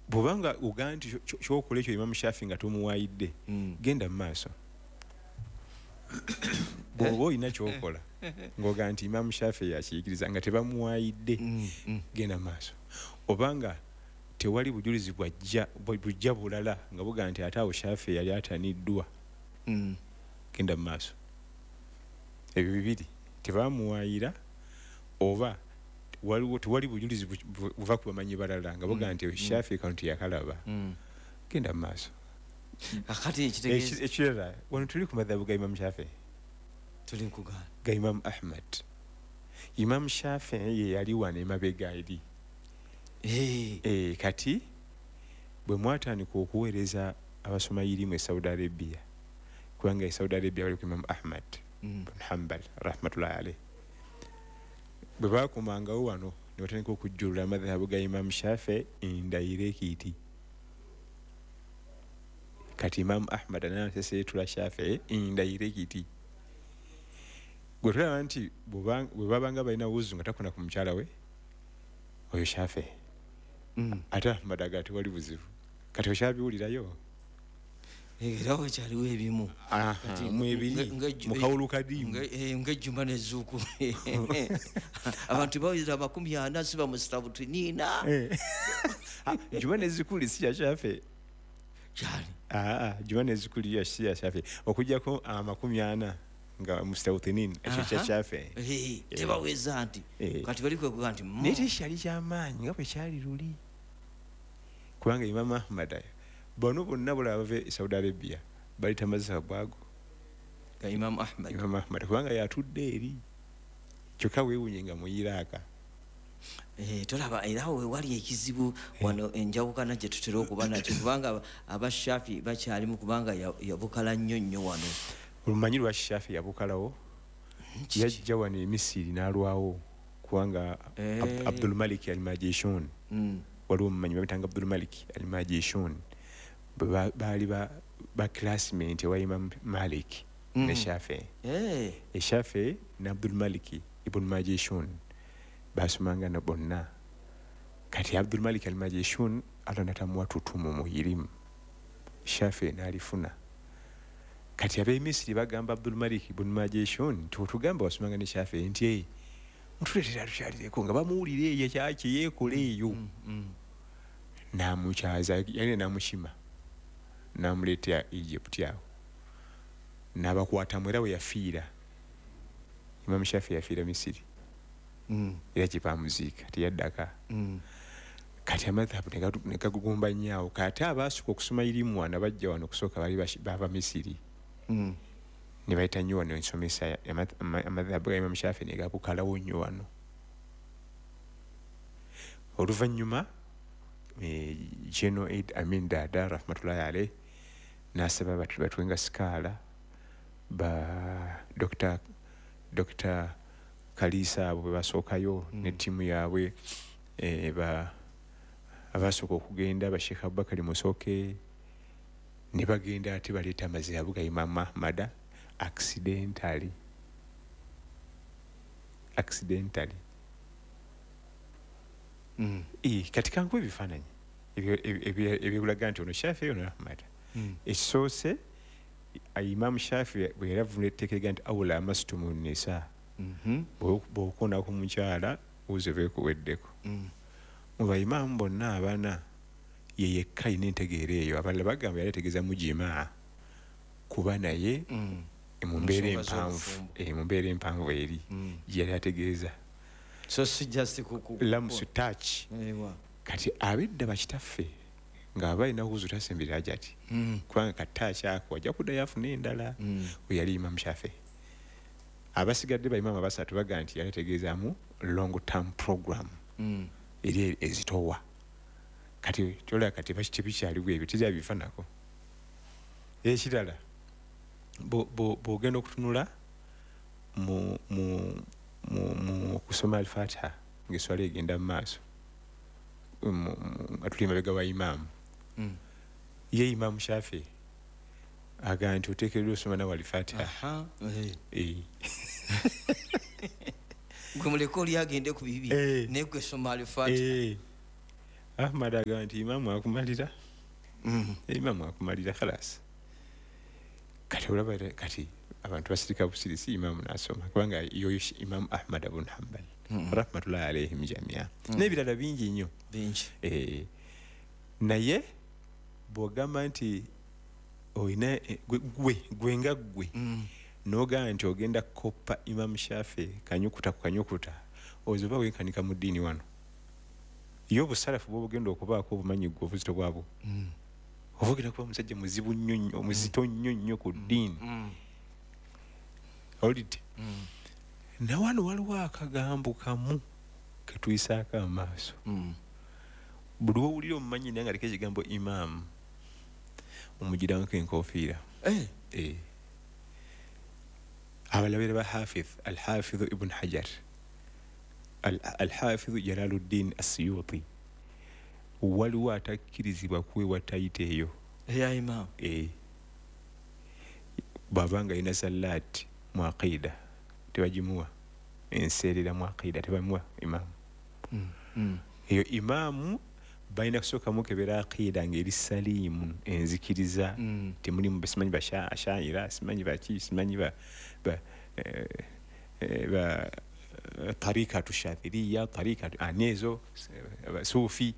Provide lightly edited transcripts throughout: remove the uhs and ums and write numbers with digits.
Bwobanga ogaa nti kyokola ekyo Imamu Shafi nga tomuwayidde, genda mu maaso. Bw'oba olina kyokola ng'ogaa nti Imamu Shafi yakiyigiriza nga tebamuwayidde, genda mu maaso. Obanga tewali bujulizi bujja bulala nga bugaa nti ate awo Shafi yali ataniddwa, genda mu maaso. Ebyo bibiri, tebamuwayira oba waliwo tewali bujulizi buva ku bamanyi balala nga bugaa nti Shafi kano teyakalaba, genda mu maaso. Kakati ekitegeeza Ekirala, wano tuli ku madhabu ga Imamu Shafi, tuli nkugaana ga Imamu Ahmad. Imamu Shafi ye yali wano emabega eri. Kati bwe mwatandika okuweereza abasoma irimu e Saudi Arabia, kubanga e Saudi Arabia bali ku Imamu Ahmad bin Hanbal rahmatullahi alayhi, bwe bakomangawo wano ne batandika okujjulula amadhabu ga Imamu Shafi indirectly. Kati Imamu Ahmad anaseseetula Shafi indirectly. Gwe tulaba nti bwe babanga balina wuzu nga takona ku mukyala we, oyo Shafi. Ate Ahmad aga tewali buzibu. Kati okyabiwulirayo? Era wakyaliwo ebimu. Aha, mwebiri, mu kawulu kadimu. Ng'ejjuma n'ezzuuku. Abantu bawulira 40 siba mu sitawutiniina. Juma n'ezzukuli si ya Shafi. Kyali. Juma n'ezzukuli si ya Shafi. Okuggyako 40 nga mu sitawutiniina, ekyo kya Shafi. Tebaweza nti. Kati bali kwekuga nti, Naye tekyali kyamaanyi nga bwe kyali luli. Kubanga Imamu Ahmad bano bonna bulaba bava e Saudi Arabia bali tamazza bwago. Ga Imamu Ahmad. Imamu Ahmad kubanga yatudde eri. Kyokka weewuunye nga mu Iraq. Tolaba era we wali ekizibu wano enjawukana gye tutera okuba nakyo, kubanga aba Shafi bakyalimu, kubanga yabukala nnyo nnyo wano. Olumanyi lwa Shafi yabukalawo? Yajja wano e Misiri n'alwawo kubanga Abdul Malik al-Majishun. Waliwo omumanyi bamuyitanga Abdul Malik al-Majishun. Bwe baali ba classmate ewa Imam Malik ne Shafi. Shafi ne Abdul Malik ibn Majishun basomanga na bonna. Kati Abdul Malik al-Majishun Allah natamuwa tutumu muhirimu, Shafi n'alifuna. Kati ab'e Misiri bagamba Abdul Malik ibn Majishun nti otugamba wasomanga ne Shafi nti mutuleetera tukyalireko, nga bamuwulira eyo kyaki yeekola eyo. N'amukyaza, yali n'amushima, n'amuleetera Egypt awo, n'abakwatamu era we yafiira. Imam Shafi yafiira Misiri. Era gye baamuziika teyaddaka. Kati amadhabu ne gagugumba nnyo awo. Kati abaasooka okusoma irimu wano bajja wano okusooka baali bava Misiri. Ne bayita nnyo wano ensomesa amadhabu ga Imam Shafi ne gabukalawo nnyo wano. Oluvannyuma General Idi Amin Dada rahmatullahi alayhi n'asaba batuwenga sikaala ba Dr. Kalisa abo bwe basookayo ne ttiimu yaabwe, abasooka okugenda ba Sheikh Abubakar Musoke ne bagenda ate baleeta amazihabu ga Imam Ahmad accidentally. Accidentally. Kati kankuwe ebifaananyi ebyekulaga nti ono Shafi ono Ahmad. Ekisoose Imam Shafi bwe yali avunula etteeka eriga nti awula amastumu nisa. Bw'okoona ku mukyala wuze beekuweddeko. Mu bayimaamu bonna abana ye yekka alina entegeera eyo. Abalala bagamba yali ategeeza mujimaa kuba naye mu mbeera empanvu, mu mbeera empanvu eri gye yali ategeeza. So si just Lamusu touch. Kati abedda bakitaffe nga balina wuzu tasembera ajati. Kubanga katouch ako ajja kuddayo afune endala. We yali Imam Shafi. Abasigadde ba imamu abasatu bagamba nti yali ategeezaamu long term program. Eri ezitowa. Kati tolaba kati tebikyaliwo ebyo, tebyabifaanako. Ekirala, bw'ogenda okutunula mu kusoma Al-Fatiha ng'esswala egenda mu maaso, nga tuli emabega wa imaamu. Ye Imam Shafi agamba nti oteekeddwa osoma nawe Al-Fatiha. Gwe muleke oli agende ku bibi, naye gwe soma Al-Fatiha. Ahmad agamba nti imaamu akumalira. Imaamu akumalira khalas. Kati olaba kati abantu basirika busirisi, imaamu n'asoma, kubanga yoyo Imaamu Ahmad ibn Hanbal rahmatullahi alaihim jamia. N'ebirala bingi nnyo. Bingi. Naye bw'ogamba nti olina gwe nga ggwe n'ogamba nti ogenda kukoppa Imaamu Shafi kanyukuta ku kanyukuta, ozoba wenkanika mu ddiini wano. Ye obusalafu bw'obugenda okubaako obumanyi ggwe obuzito bwabwo. Oba ogenda kuba musajja muzibu nnyo nnyo, omuzito nnyo nnyo ku ddiini. Owulidde? Na wano waliwo akagambo kamu ketuyisaako amaaso. Buli w'owulira omumanyi naye nga aliko ekigambo imaamu, omugirangako enkofiira. Abalala ba Hafidh, Al-Hafidh Ibn Hajar, Al-Hafidh Jalaluddin As-Suyuti, waliwo atakkirizibwa kuweebwa tayita eyo eya imaamu. Bw'aba nga alina zallaati mu aqida tebagimuwa, enseerera mu aqida tebamuwa imaamu. Eyo imaamu balina kusooka mukebera aqida ng'eri saliimu, enzikiriza temulimu simanyi bashaira, simanyi baki, simanyi ba tarikatu shathiriya, tarikatu anezo sufi,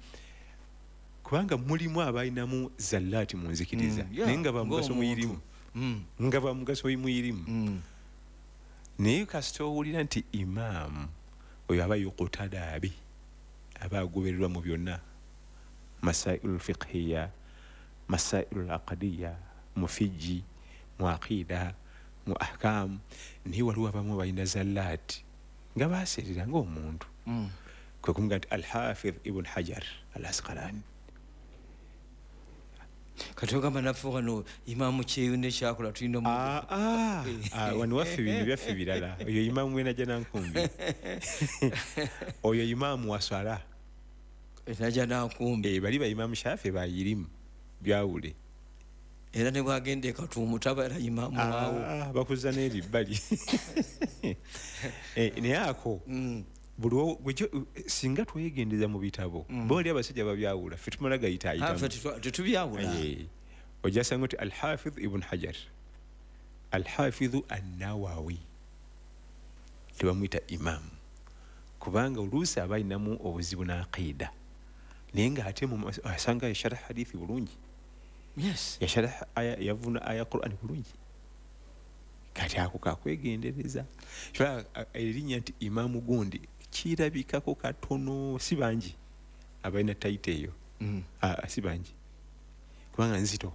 kubanga mulimu abalinamu zallaati mu nzikiriza naye nga bamugaso muyirimu, nga bamugaso muyirimu. Naye kasita owulira nti imaamu oyo aba yuqtada bi, aba agobererwa mu byonna, masailu lfiqhiya, masailu laqadiya, mu fiji, mu aqida, mu ahkamu. Naye waliwo abamu balina zallaati nga baseerera ng'omuntu. Kwe kumuga nti Alhafidh Ibn Hajar Al Asqalani. Kati ogamba naffe wano imaamu Kyeyune kyakola tulina wano waffe bino byaffe birala. Oyo imaamu we Najjanankumbi, oyo imaamu waswala Najjanankumbi. Bali ba Imaamu Shafi bayirimu byawule. Era ne bwagenda e Katuumu tabeera imaamu waawo, bakuza n'eri bbali. Naye ako buli singa twegendeza mu bitabo, bo oli abasajja babyawula, ffe tumala gayitaayitamu, tetubyawula. Ojja sanga nti Alhafidh Ibn Hajar, Alhafidhu Annawawi tebamuyita imaamu, kubanga oluusi aba alinamu obuzibu n'aqida, naye ng'ate asanga yasharah hadithi bulungi, yasharah aya, yavuna aya Qur'ani bulungi. Kati ako kakwegendereza. Erinnya nti imaamu gundi kirabikako katono, si bangi abalina tayita eyo, si bangi, kubanga nzito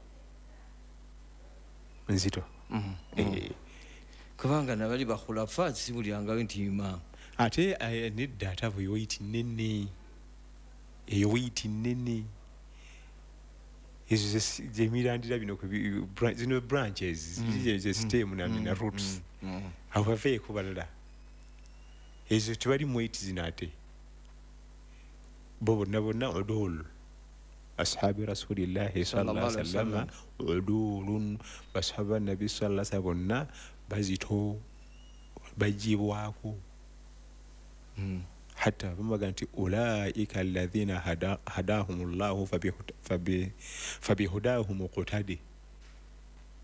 nzito. Kubanga nabali bakhulafa sibulyangayo nti imaamu. Ate nedda, ate abo yoyiti nene, eyo weyiti nene, ezo zemirandira bino zino branches ze stem na roots, abo baveeko balala, ezo tebali mweyiti zino. Ate bo bonna bonna udul ashabi rasulillahi sallallahu alaihi wasallam, udulun basahaba nabi sallallahu alaihi wasallam bonna bazito bagibwako. Hatta bamubaga nti ulaika alladhina hadahumullahu fabihudahum muqtadi,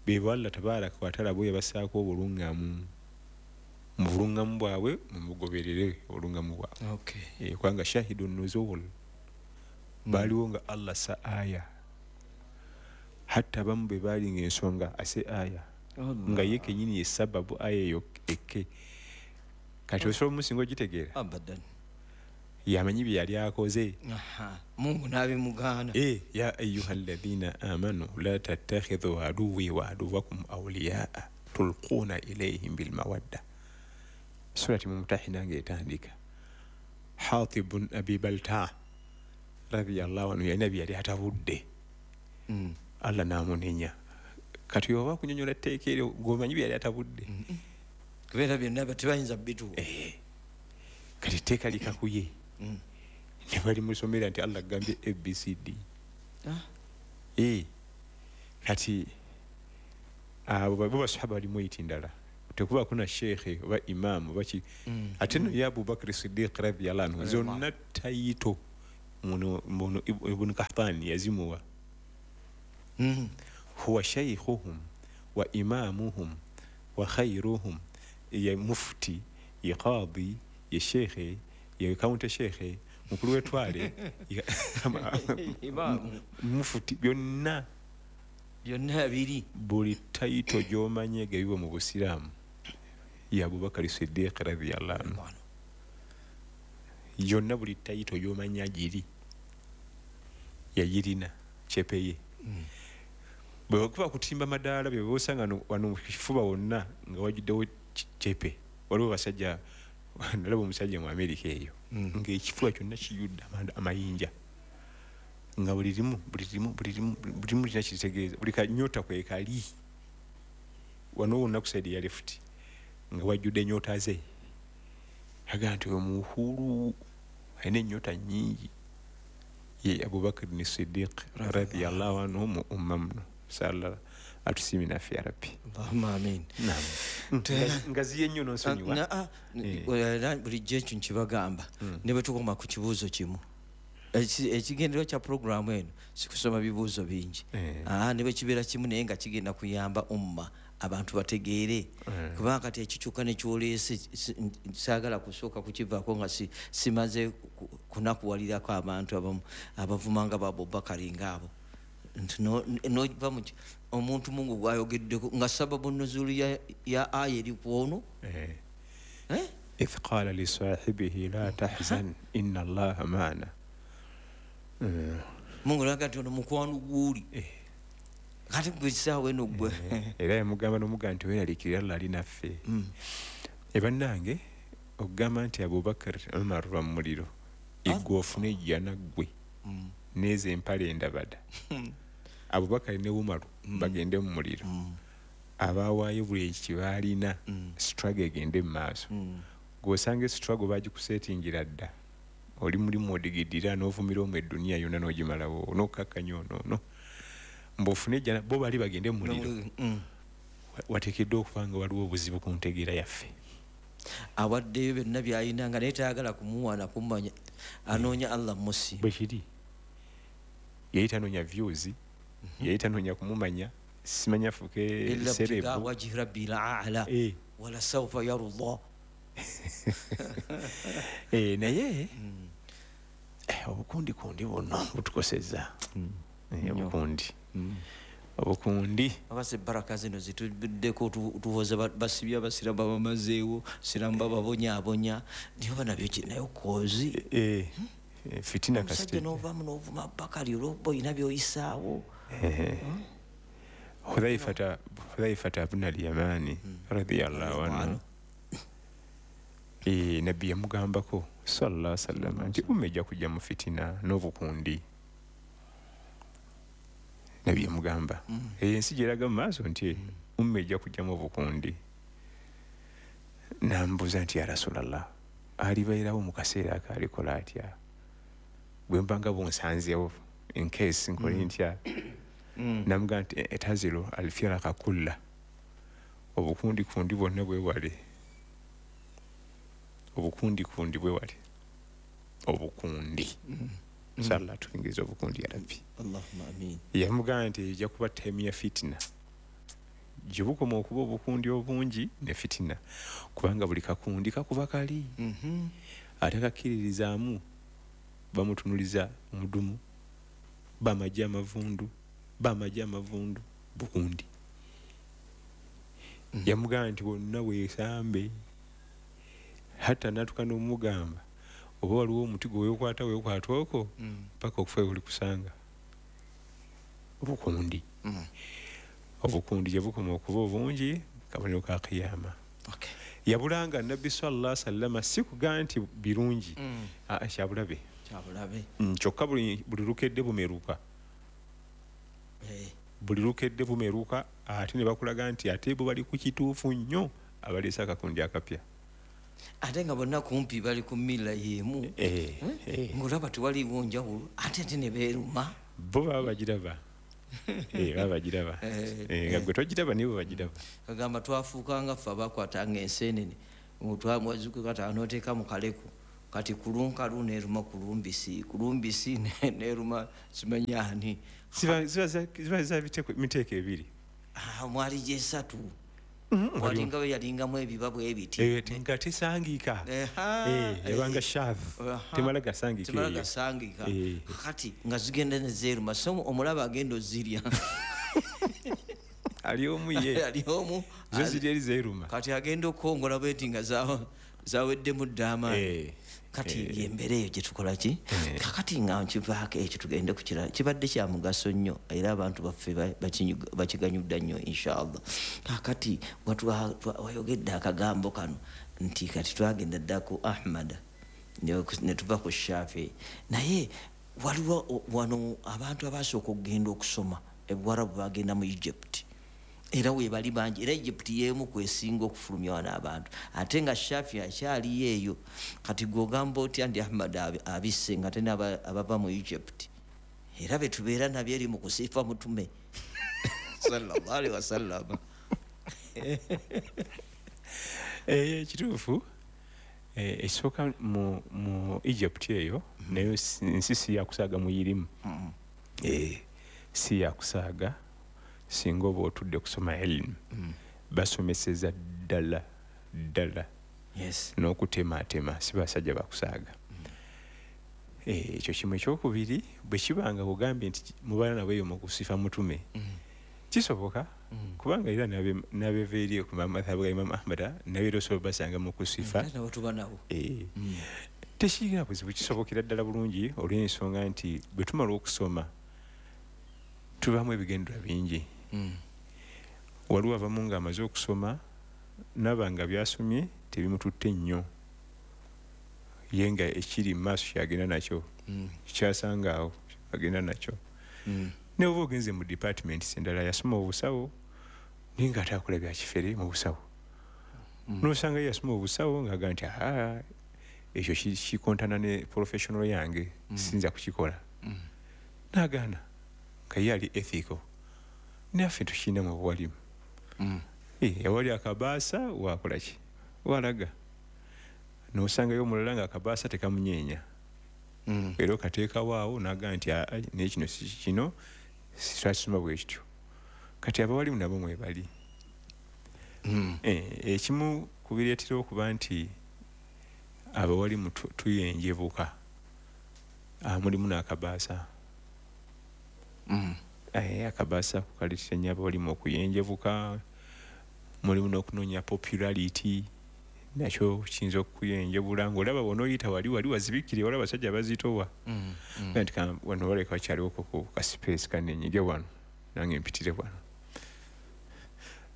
bebo Allah tabaraka wa taala bwe yabasaako obulungamu, mu bulungamu bwabwe mumugoberere obulungamu bwabwe. Kubanga shahidu nuzul, baliwo nga Allah sa aya, hatta abamu bwe bali ng'ensonga ase aya nga ye kennyini ye sababu aya eyo ekke. Kati osobola omusinga ogitegeera abadan, yamanyi bye yali akoze, Mungu n'abimugaana. Ya ayuha alladhina amanu la tattakhidhu aduwwi wa aduwwakum awliyaa tulquna ilayhim bilmawadda. Surati Mumtahina ng'etandika, Hatib bin Abi Baltaa radiyallahu anhu yalina bye yali atabudde, Allah n'amunenya. Kati oba kunyonyola etteeka eryo ng'omanyi bye yali atabudde, kubeera byonna tebayinza bituwa. Kati etteeka likakuye ne balimusomera nti Allah agambye ABCD. Kati abo bo basahaba bali mweyiti ndala, tekubaako na sheekhe oba imaamu oba ki. Ate nno ye Abubakari Siddiq radiyallahu anhu zonna tayito Muno Ibn Kahtan yazimuwa. Huwa shaykhuhum wa imamuhum wa khayruhum, ye mufti, ye qadi, ye shekhe, ye county shekhe, mukulu wetwale, mufti, byonna byonna biri. Buli title gy'omanye gabibwa mu Busiraamu ya Abubakar Siddiq radhiyallahu anhu. Yonna buli title gy'omanya giri yagirina chepeye. Bwe bakuba kutimba madaala bye bosanga wano mu kifuba wonna nga wajjuddewo chepe. Waliwo basajja, nalaba omusajja mu Amerika eyo ng'ekifuba kyonna kijjudde amayinja, nga buli limu buli limu buli limu buli limu kirina kiritegeeza, buli kanyota kwe kali wano wonna ku side ya left nga wajjudde ennyota ze. Agamba nti oyo muhulu alina ennyota nnyingi. Ye Abubakar ni Siddiq radhiyallahu anhu mu umma muno. Sala atusiimi naffe ya Rabbi. Allahumma amin. Naam. Ngaziye nnyo n'onsonyiwa. Bulijjo ekyo nkibagamba ne bwe tukoma ku kibuuzo kimu. Ekigendererwa kya puroguraamu eno si kusoma bibuuzo bingi. Ne bwe kibeera kimu naye nga kigenda kuyamba umma abantu bategeere. Kubanga kati ekikyuka ne kyoleese saagala kusooka kukivaako nga simaze kunakuwalirako abantu abamu abavumanga ba Abubakari ng'abo. Nti nova mu omuntu Mungu gwayogeddeko nga sababu nuzulu ya aya eri ku ono. Idh qala li sahibihi la tahzan inna Allaha ma'ana. Mungu naga nti ono mukwano gw'oli. Kati gwe essaawa eno gwe. Era yamugamba n'omugamba nti weeraliikirira Allah ali naffe. Ebannange okugamba nti Abubakar Umar ba mu muliro, eggwe ofune ejjana ggwe n'ezo empale endabada. Abubakar ne Umaru bagende mu muliro. Abaawaayo buli ekibaalina, struggle egende mu maaso. Gw'osanga struggle bagikusetingira dda. Oli mulimu odigidira n'ovumira omwo eduniya yonna n'ogimalawo n'okkakkanya ono no. Mbofune ejjana bo bali bagende mu muliro. Wateekeddwa okuba nga waliwo obuzibu ku ntegeera yaffe. Awaddeyo byonna by'alina nga naye tayagala kumuwa na kumanya, anoonya Allah musi. Bwe kiri. Yali tanoonya views, yali tanoonya kumumanya, simanya afuuke serebu. Wajhi rabbil a'la wala sawfa yara Allah. Naye obukundi kundi buno butukosezza. Obukundi. Obukundi. Abase baraka zino zituddeko tuwoza basibye abasiraamu babamazeewo, siraamu bababonyaabonya. Naye oba nabyo naye kozi. Fitina kasite. Omusajja n'ovaamu n'ovuma Bakari olw'okuba olina by'oyisaawo. Hudhaifata ibn al-Yamani radhiyallahu anhu. Nabbi yamugambako sallallahu alaihi wasallam nti umma ejja kujja mu fitina n'obukundi. Nabbi yamugamba ensi gyeraga mu maaso nti umma ejja kujjamu obukundi. Nambuuza nti ya Rasulallah, alibeerawo mu kaseera ako alikola atya? Bwe mba nga bunsanzeewo in case nkole ntya? Namugamba nti etazilu alfiraka kulla, obukundi kundi bwonna bwewale. Obukundi kundi bwewale. Obukundi. Inshallah tuyingize obukundi ya Rabbi. Allahumma amin. Yamugamba nti ejja kuba time ya fitina. Gye bukoma okuba obukundi obungi ne fitina, kubanga buli kakundi kakuba kali. Ate kakkiririzaamu bamutunuliza omudumu, bamajja amavundu, bamajja amavundu, bukundi. Yamugamba nti bonna weesambe. Hatta natuka n'omugamba oba waliwo omuti gwe weekwata weekwata okwo paka okufa oli kusanga. Obukundi. Obukundi gye bukoma okuba obungi kabonero ka kiyama. Yabulanga Nabbi sallallahu alaihi wasallam si kugamba nti birungi, kyabulabe. Kyabulabe. Kyokka buli lukedde bumeruka. Buli lukedde bumeruka ate ne bakulaga nti ate bo bali ku kituufu nnyo abaleese akakundi akapya. Ate nga bonna kumpi bali ku mila y'emu. Ng'olaba tewaliiwo njawulo ate ate ne beeruma. Bo baba bagiraba. Baba bagiraba. Nga gwe togiraba nibo bagiraba. Kagamba twafuukanga ffe abakwatanga enseenene. Mwazuukuka n'oteeka mu kaleku. Kati kulunkalu neruma kulumbisi, kulumbisi neruma simanyani. Ziba za miteeko ebiri. Mwali gyesatu. Walinga we yalingamu ebiba bwe ebiti. Nga tesangika. Yabanga shav. Temala gasangika. Temala gasangika. Kati nga zigenda ne zeeruma. So omulaba agenda ozirya. Ali omu ye. Ali omu. Zo ziri eri zeeruma. Kati agenda okwongola bweti nga zaweddemu dda amaanyi. Kati embeera eyo gye tukola ki? Kakati nga nkivaako ekyo tugende ku kirala. Kibadde kya mugaso nnyo era abantu baffe bakiganyudda nnyo inshallah. Kakati wayogedde akagambo kano nti kati twagenda dda ku Ahmad ne tuva ku Shafi. Naye waliwo wano abantu abasooka okugenda okusoma ebuwarabu bagenda mu Egypt. Era webali bangi, era Egypt y'emu kwesinga okufulumya wano abantu, ate nga Shafi akyaliyo eyo. Kati gw'ogamba otya nti Ahmad abisse nga ate abava mu Egypt, era be tubeera nabyo eri mu kusiifa mutume sallallahu alaihi wasallam. Kituufu. Ekisooka mu Egypt eyo nayo nsi si yakusaaga muyirimu. Si yakusaaga singa oba otudde kusoma elimu. Basomeseza ddala ddala. Yes. N'okutemaatema si basajja bakusaaga. Ekyo kimu. Ekyokubiri, bwe kibanga ogambye nti mubaana nabo eyo mu kusifa mutume, kisoboka kubanga era n'abeva eri ku madhhabu ga Imam Ahmad nabo era osobola basanga mu kusifa. Tekirina buzibu, kisobokera ddala bulungi olw'ensonga nti bwe tumala okusoma tubaamu ebigendererwa bingi. Waliwo abamu ng'amaze okusoma naba nga byasomye tebimututte nnyo, ye nga ekiri mu maaso kyagenda nakyo, kyasanga awo agenda nakyo. Ne oba ogenze mu departments endala, yasoma obusawo naye nga ate akola bya kifere mu busawo. N'osanga ye yasoma obusawo ng'agamba nti ekyo kikontana ne professional yange, siyinza kukikola. N'agaana nga ye ali ethical. Naffe tukirina mu buwalimu. Awali akabaasa wakola ki? Walaga. N'osangayo omulala nga akabaasa tekamunyeenya. Era okateekawo awo n'agamba nti naye kino si kino, twakisoma bwe kityo. Kati abawalimu nabo mwebali. Ekimu ku bireetera okuba nti abawalimu tuyenjebuka, mulimu n'akabaasa. Akabaasa kukaleetera nnyo abawalimu okuyenjebuka, mulimu n'okunoonya popularity, nakyo kiyinza okuyenjebula ng'olaba bw'onooyita wali wali wazibikire, waliwo abasajja bazitowa. Nti wano waleka wakyaliwo ku ka space kannenyige wano, nange mpitire wano.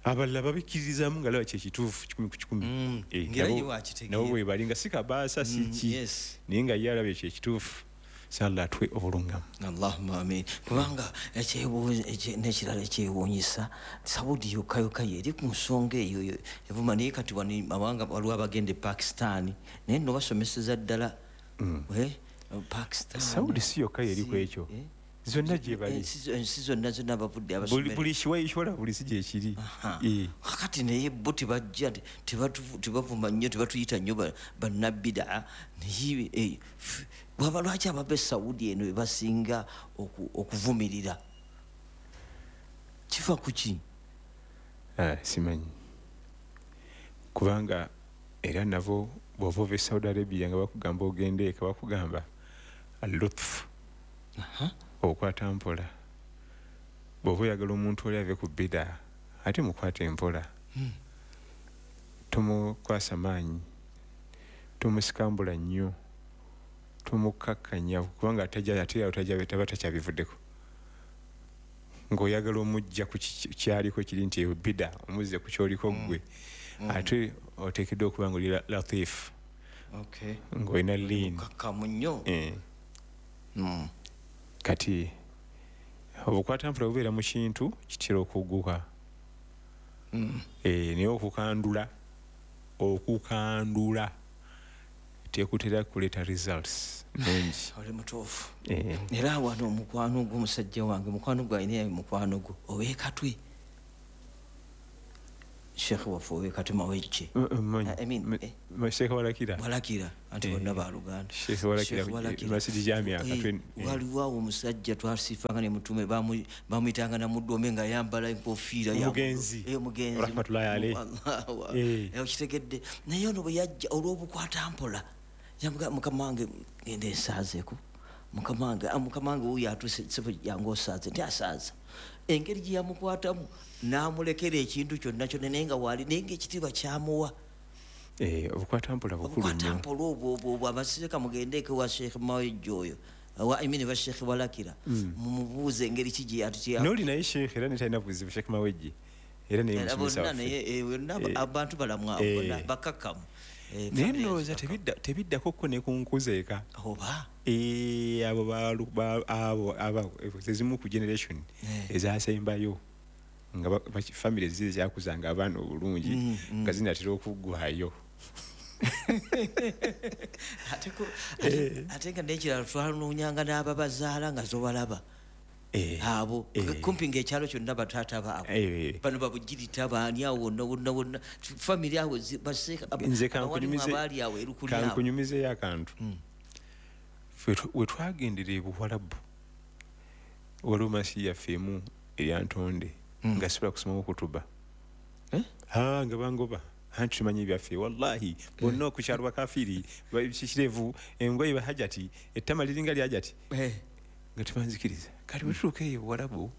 Abalala babikkiririzaamu nga laba kyekituufu 1 ku 100. Nabo bwe bali nga si kabaasa si ki, naye nga ye alaba ekyo ekituufu. Sallallahu atwe obulungamu. Allahumma amin. Kubanga n'ekirala ekyewuunyisa, Saudi yokka yokka yeri ku nsonga eyo evuma, naye kati wano mawanga waliwo abagenda e Pakistan, naye nno basomeseza ddala. Pakistan. Saudi si yokka yeri ku ekyo. Zonna gye bali. Ensi zonna zonna bavudde abasomera. Buli kiwayi kyola buli si gye kiri. Kakati naye bo tebajja, tebavuma nnyo, tebatuyita nnyo bannabbidaa. Naye bwaba lwaki abava e Saudi eno bebasinga okuvumirira? Kifa ku ki? Simanyi. Kubanga era nabo bw'ova ova e Saudi Arabia nga bakugamba ogende eka, bakugamba al-lutf. Okwata mpola. Bw'oba oyagala omuntu oli ave ku bida, ate mukwate mpola. Tomukwasa maanyi, tomusikambula nnyo, tomukakkanya kubanga ate taba takyabivuddeko. Ng'oyagala omujja ku kyaliko kiri nti eyo bida, omuzze ku kyoliko ggwe. Ate oteekeddwa okuba ng'oli latif. Ng'olina lean. Mukakkamu nnyo. Kati obukwata mpola bubeera mu kintu kitera okugguka. Naye okukandula tekutera kuleeta results nungi. Oli mutuufu. Era wano omukwano gwo musajja wange, mukwano gwe alina mukwano gwo ow'ekatwe. Sheikh waffe Katima Wejje. I mean, Sheikh Walakira. Walakira anti bonna baluganda. Sheikh Walakira Masjid Jamia Katwe. Waliwo awo omusajja twasifanga ne mutume bamuyitanga na mudome nga yambala enkofiira ya mugenzi. Mugenzi. Rahmatullahi alayhi. Okitegedde. Naye ono bwe yajja olw'obukwata mpola. Yamugamba mukama wange ngende nsaazeeko. Mukama wange wuuyo atuuse ssebo yange osaaze nti asaaza. Engeri gye yamukwatamu n'amulekera ekintu kyonna kyonna naye nga waali naye ng'ekitiibwa kyamuwa. Obukwata mpola bukulu nnyo. Obukwata mpola obwo abasirika mugendeeko wa Sheikh Mawejje oyo. I mean wa Sheikh Walakira. Mumubuuze engeri ki gye yatutya. N'oli naye Sheikh era ne talina buzibu Sheikh Mawejje. Era naye musomesa waffe. Bonna abantu balamu abo bonna bakakkamu. Naye ndowooza tebiddako ko ne ku nkuzeeka. Oba? Abo ezimu ku generation ezasembayo nga family zize zakuzanga abaana obulungi nga zinatera okuggwayo. Ate nga n'ekirala twanoonyanga n'ababazaala nga zobalaba. Abo kumpi ng'ekyalo kyonna bataata baabwe bano babugirita baani awo wonna wonna wonna family awo baseeka abaali awo erukuli awo. Kankunyumizeeyo akantu. We twagendera e Buwalabu waliwo masi yaffe emu eryantonde nga sisobola kusomamu kutuba. Nga bangoba anti tumanyi ebyaffe wallahi bonna ku kyalo bakafiri kirevu engoye bahajati ettama liringa lyajati nga tebanzikiriza. Kati bwe tutuuka eyo Buwalabu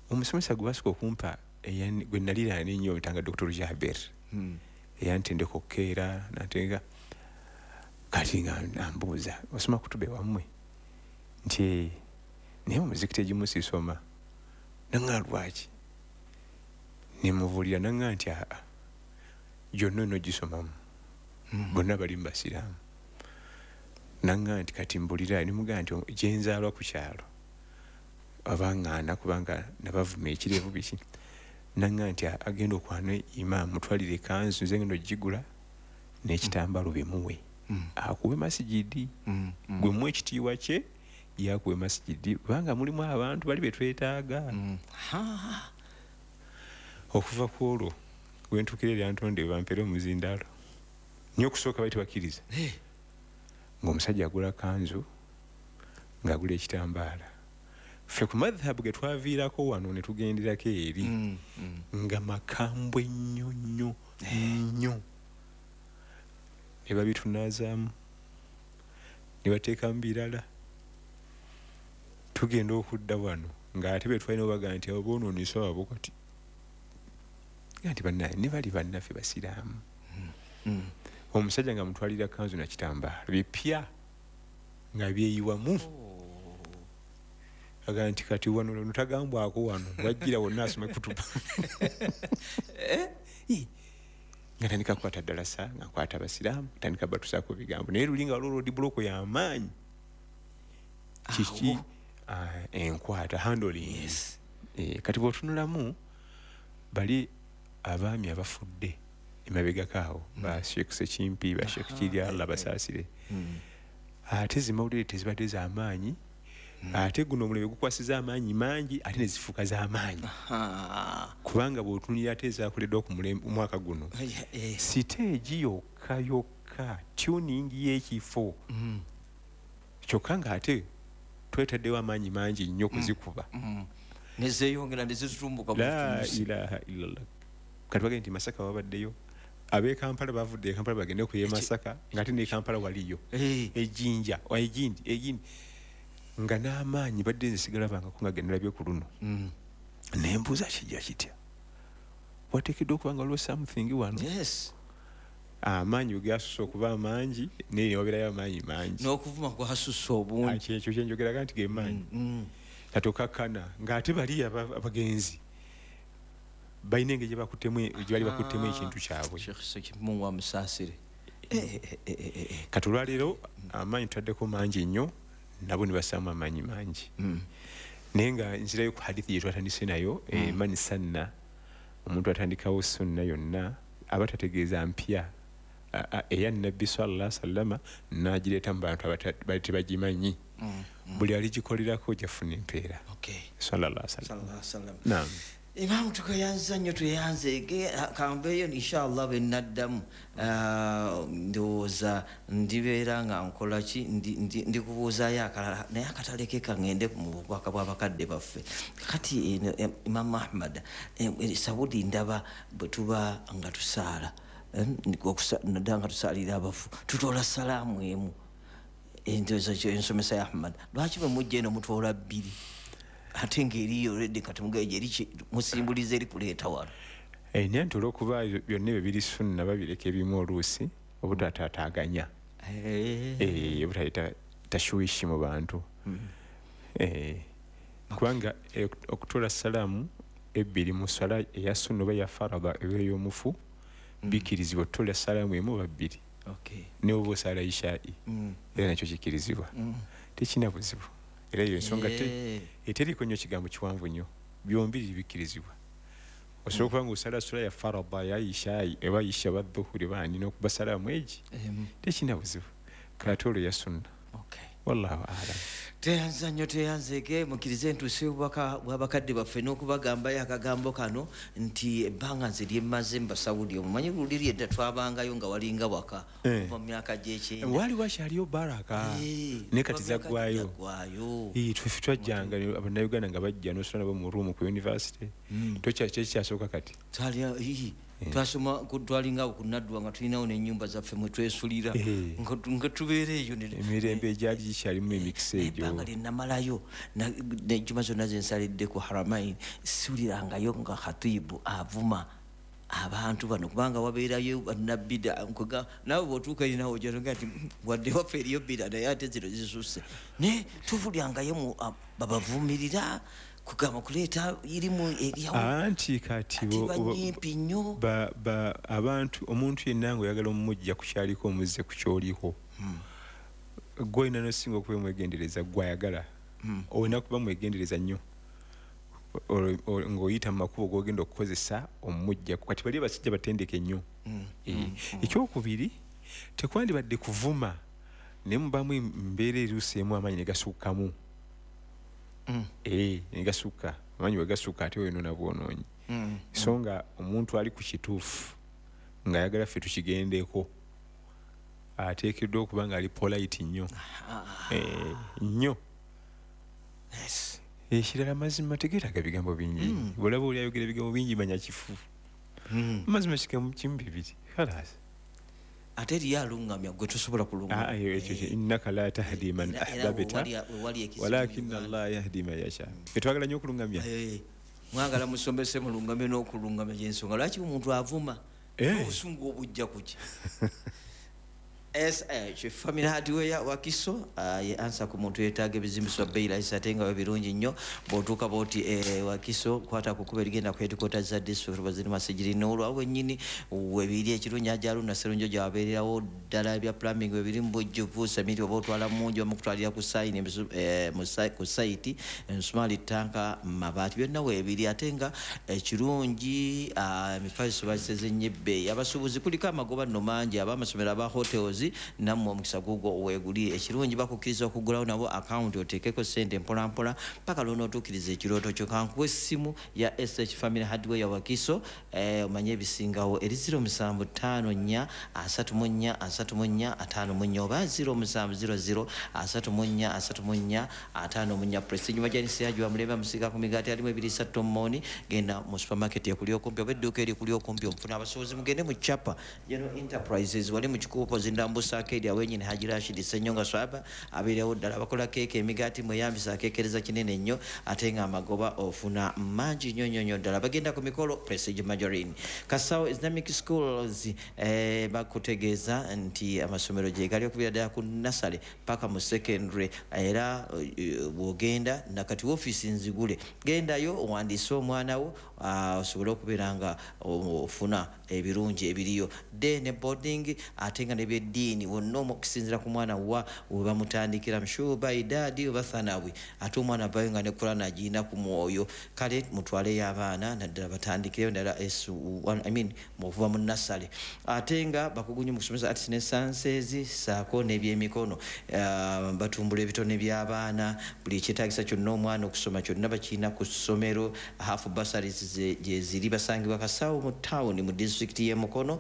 omusomesa gwe basooka okumpa gwe naliraana ennyo bamuyitanga Dr. Jaber eyantendeka okukeera nantenga kati nga ambuuza osoma kutuba ewammwe nti naye mu muzikiti egimu sisoma. Nanga lwaki? Nemubuulira nanga nti aa gyonna onogisomamu bonna bali mu basiraamu. Nanga nti kati mbulira nemugamba nti gye nzaalwa ku kyalo abangaana kubanga nabavuma ekirevu biki. Nanga nti agenda okwana imaamu mutwalire ekanzu nze ngenda ogigula n'ekitambaalo bimuwe. Akuwe masigidi gwe muwe ekitiibwa kye yakuwe masigidi kubanga mulimu abantu bali betwetaaga. Okuva ku olwo we ntuukira eryantonde bampeere omuzindaalo nnyo okusooka bali tebakkiriza ng'omusajja agula kanzu ng'agula ekitambaala. Ffe ku madhabu ge twaviirako wano ne tugenderako eri nga makambwe nnyo nnyo nnyo. Ne babitunaazaamu ne bateekamu birala. Tugenda okudda wano ng'ate be twalina obaga nti abo boonoonesa abo kati nti bannaye ne bali bannaffe basiraamu. Omusajja nga mutwalira kanzu na kitambaala bipya nga byeyiwamu. Agamba nti kati wano notagambwako wano wajjira wonna asome kutuba. Nga tandika kukwata ddalasa nga nkwata abasiraamu tandika batusaako bigambo naye luli nga waliwo roadblock y'amaanyi kiki enkwata handling. Kati bw'otunulamu bali abaami abafudde emabegako awo ba Sheikh Sekimpi ba Sheikh Kirya Allah basaasire ate zimawulire tezibadde z'amaanyi ate guno omulembe gukwasiza amaanyi mangi ate ne zifuuka z'amaanyi kubanga bw'otunulira ate ezaakoleddwa ku mwaka guno siteegi yokka yokka tuning y'ekifo kyokka ng'ate twetaddewo amaanyi mangi nnyo kuzikuba nezeeyongera nezitumbuka. La ilaha illallah. Kati bagende nti Masaka babaddeyo ab'e Kampala bavudde e Kampala bagende ku ye Masaka ng'ate ne Kampala waliyo ejjinja egindi nga n'amaanyi badde nze sigalabangako nga ge nalabye ku luno. Ne mbuuza kijja kitya wateekeddwa okuba nga waliwo something wano. Amaanyi bwe gasusse okuba amangi naye ne wabeerayo amaanyi mangi n'okuvuma kwasusse obungi. Ekyo kye njogeraga nti ge maanyi. Kati okakkana ng'ate bali abagenzi balina engeri gye bali bakuttemu ekintu kyabwe. Sheikh Sekimungu amusaasire. Kati olwaleero amaanyi tutaddeko mangi nnyo nabo ne bassaamu amaanyi mangi. Naye nga nzirayo ku hadithi gye twatandise nayo man sanna omuntu atandikawo sunna yonna aba tategeeza mpya eya Nabbi sallallahu alaihi wasallam n'agireeta mu bantu abali tebagimanyi. Buli aligikolerako jafuna empeera. Sallallahu alaihi wasallam. Naam. Imam tukayanza nnyo tweyanze kambeeyo inshallah bwe nnaddamu ndowooza ndibeera nga nkola ki ndikubuuzaayo akalala naye akatalekeka ngende mu bubaka bw'abakadde baffe. Kati Imam Ahmad Saudi ndaba bwe tuba nga tusaala naddala nga tusaalira abafu tutoola salaamu emu endowooza ensomesa ya Ahmad lwaki bwe mujja eno mutoola bbiri ate ng'eriyo already kati mugeje eri musimbulize eri kuleeta wano. Naye nti olw'okuba byonna ebyo biri sunna babireka ebimu oluusi obutataataaganya obutaleeta tashwishi mu bantu. Kubanga okutoola salaamu ebbiri mu swala eya sunna oba eya farada eba ey'omufu bikkirizibwa okutoola salaamu emu oba bbiri ne oba osaala ishaa'i era nakyo kikkirizibwa tekirina buzibu. Era eyo ensonga eteriiko nnyo kigambo kiwanvu nnyo byombi bikkirizibwa. Osobola okuba ng'osala sula ya farada ya ishaa'i eba isha oba dhuhuri baani n'okuba salaamu egi tekirina buzibu kate olwo ya sunna. Wallahu a'lam. Teyanza nnyo teyanzeege mukkirize ntuuse obubaka bw'abakadde baffe n'okubagambayo akagambo kano nti ebbanga nze lye mmaze mu Basaudi omumanyi luli edda twabangayo nga walinga waka okuva mu myaka gy'ekyenda waali wakyaliyo baraka naye kati zaggwayo. Ffe twajjanga Abannayuganda nga bajja n'osula nabo mu ruumu ku university tokyasooka kati twasoma twalinga awo ku Naddwa nga tulinawo n'ennyumba zaffe mwe twesulira nga tubeera eyo emirembe egyali gikyalimu emikisa egyo. Ebbanga lye namalayo n'ejjuma zonna ze nsalidde ku Haramain siwulirangayo nga khatibu avuma abantu bano kubanga wabeerayo bannabida naawe bw'otuuka eri naawe ojja nti wadde waffe eriyo bida naye ate zino zisusse naye tuvulyangayo babavumirira kugamba kuleeta irimu anti kati banyimpi nnyo abantu omuntu yenna ng'oyagala omumujja ku kyaliko omuzze ku kyoliko gwe olina n'osinga okuba mwegendereza gw'ayagala olina kuba mwegendereza nnyo ng'oyita mu makubo g'ogenda okukozesa omumujja kati bali abasajja batendeke nnyo. Ekyokubiri tekwandibadde kuvuma naye mubaamu embeera eruuseemu amaanyi ne gasukkamu ne gasukka amaanyi bwe gasukka ate weyonoona bwonoonyi. So nga omuntu ali ku kituufu ng'ayagala ffe tukigendeko ateekeddwa okuba ng'ali polite nnyo nnyo. Ekirala mazima tegeetaaga bigambo bingi bw'olaba oli ayogera ebigambo bingi manya kifu mazima kigambo kimu bibiri khalas. Ate eriyo alungamya gwe tosobola kulungamya innaka la tahdi man ahbabta walakinna Allah yahdi man yasha. Ffe twagala nnyo okulungamya mwagala musomese mulungamye n'okulungamya gy'ensonga lwaki omuntu avuma obusungu obujja kuki. SH Family Hardware Wakiso ye ansa ku muntu yeetaaga ebizimbiso bbeeyi layisi ate nga birungi nnyo bw'otuuka bw'oti Wakiso kwata ku kkubo erigenda ku headquarters za district baziri Masigiri n'olwawo wennyini webiri ekirungi Ajalu na Serunjo gy'abeererawo ddala ebya plumbing webiri mu bujjuvu semiti oba otwala mungi bamukutwalira ku sayini ku sayiti ensumaali ttanka mabaati byonna weebiri ate nga ekirungi emifaliso bagiseze nnyo ebbeeyi. Abasuubuzi kuliko amagoba nno mangi ab'amasomero aba hotels nammwe omukisa gugwo weeguli. Ekirungi bakukkiriza okugulawo nabo akawunti oteekeko ssente mpolampola paka lw'onootuukiriza ekirooto kyo. Kankuwa essimu ya SH Family Hardware Wakiso omanye ebisingawo eri 0754 34 34 54 oba 0700 34 34 54. Prestige Majanisi yagiwa mulembe musiga ku migaati alimu ebiriisa tomooni genda mu supermarket ekuli okumpi oba edduuka erikuli okumpi omufuna. Abasuubuzi mugende mu Chapa General Enterprises wali mu Kikuubo Zindambusa Arcade awennyini Haji Rashid Ssenyonga Swaba abeerewo ddala bakola keeke emigaati mweyambisa akeekereza kinene nnyo ate nga amagoba ofuna mangi nnyo nnyo nnyo ddala. Bagenda ku mikolo Prestige Margarine. Kasawo Islamic Schools bakutegeeza nti amasomero gye gali okubira ddala ku nasale paka mu secondary era bw'ogenda nakati woofiisi nzigule gendayo owandiise omwana wo osobole okubeera nga ofuna ebirungi ebiriyo day ne boarding, ate nga n'ebyeddiini wonna okusinziira ku mwana wa we bamutandikira mushuba idadi oba thanawi, ate omwana avayo nga ne Kurani agirina ku mwoyo. Kale mutwaleyo abaana naddala batandikireyo ddala S1, I mean okuva mu nursery. Ate nga bakugu nnyo mu kusomesa arts ne sciences ssaako n'ebyemikono, batumbula ebitone by'abaana, buli ekyetaagisa kyonna omwana okusoma kyonna bakirina ku ssomero. Half bursaries gye ziri, basangibwa Kasawo mu town mu disitulikiti y'e Mukono,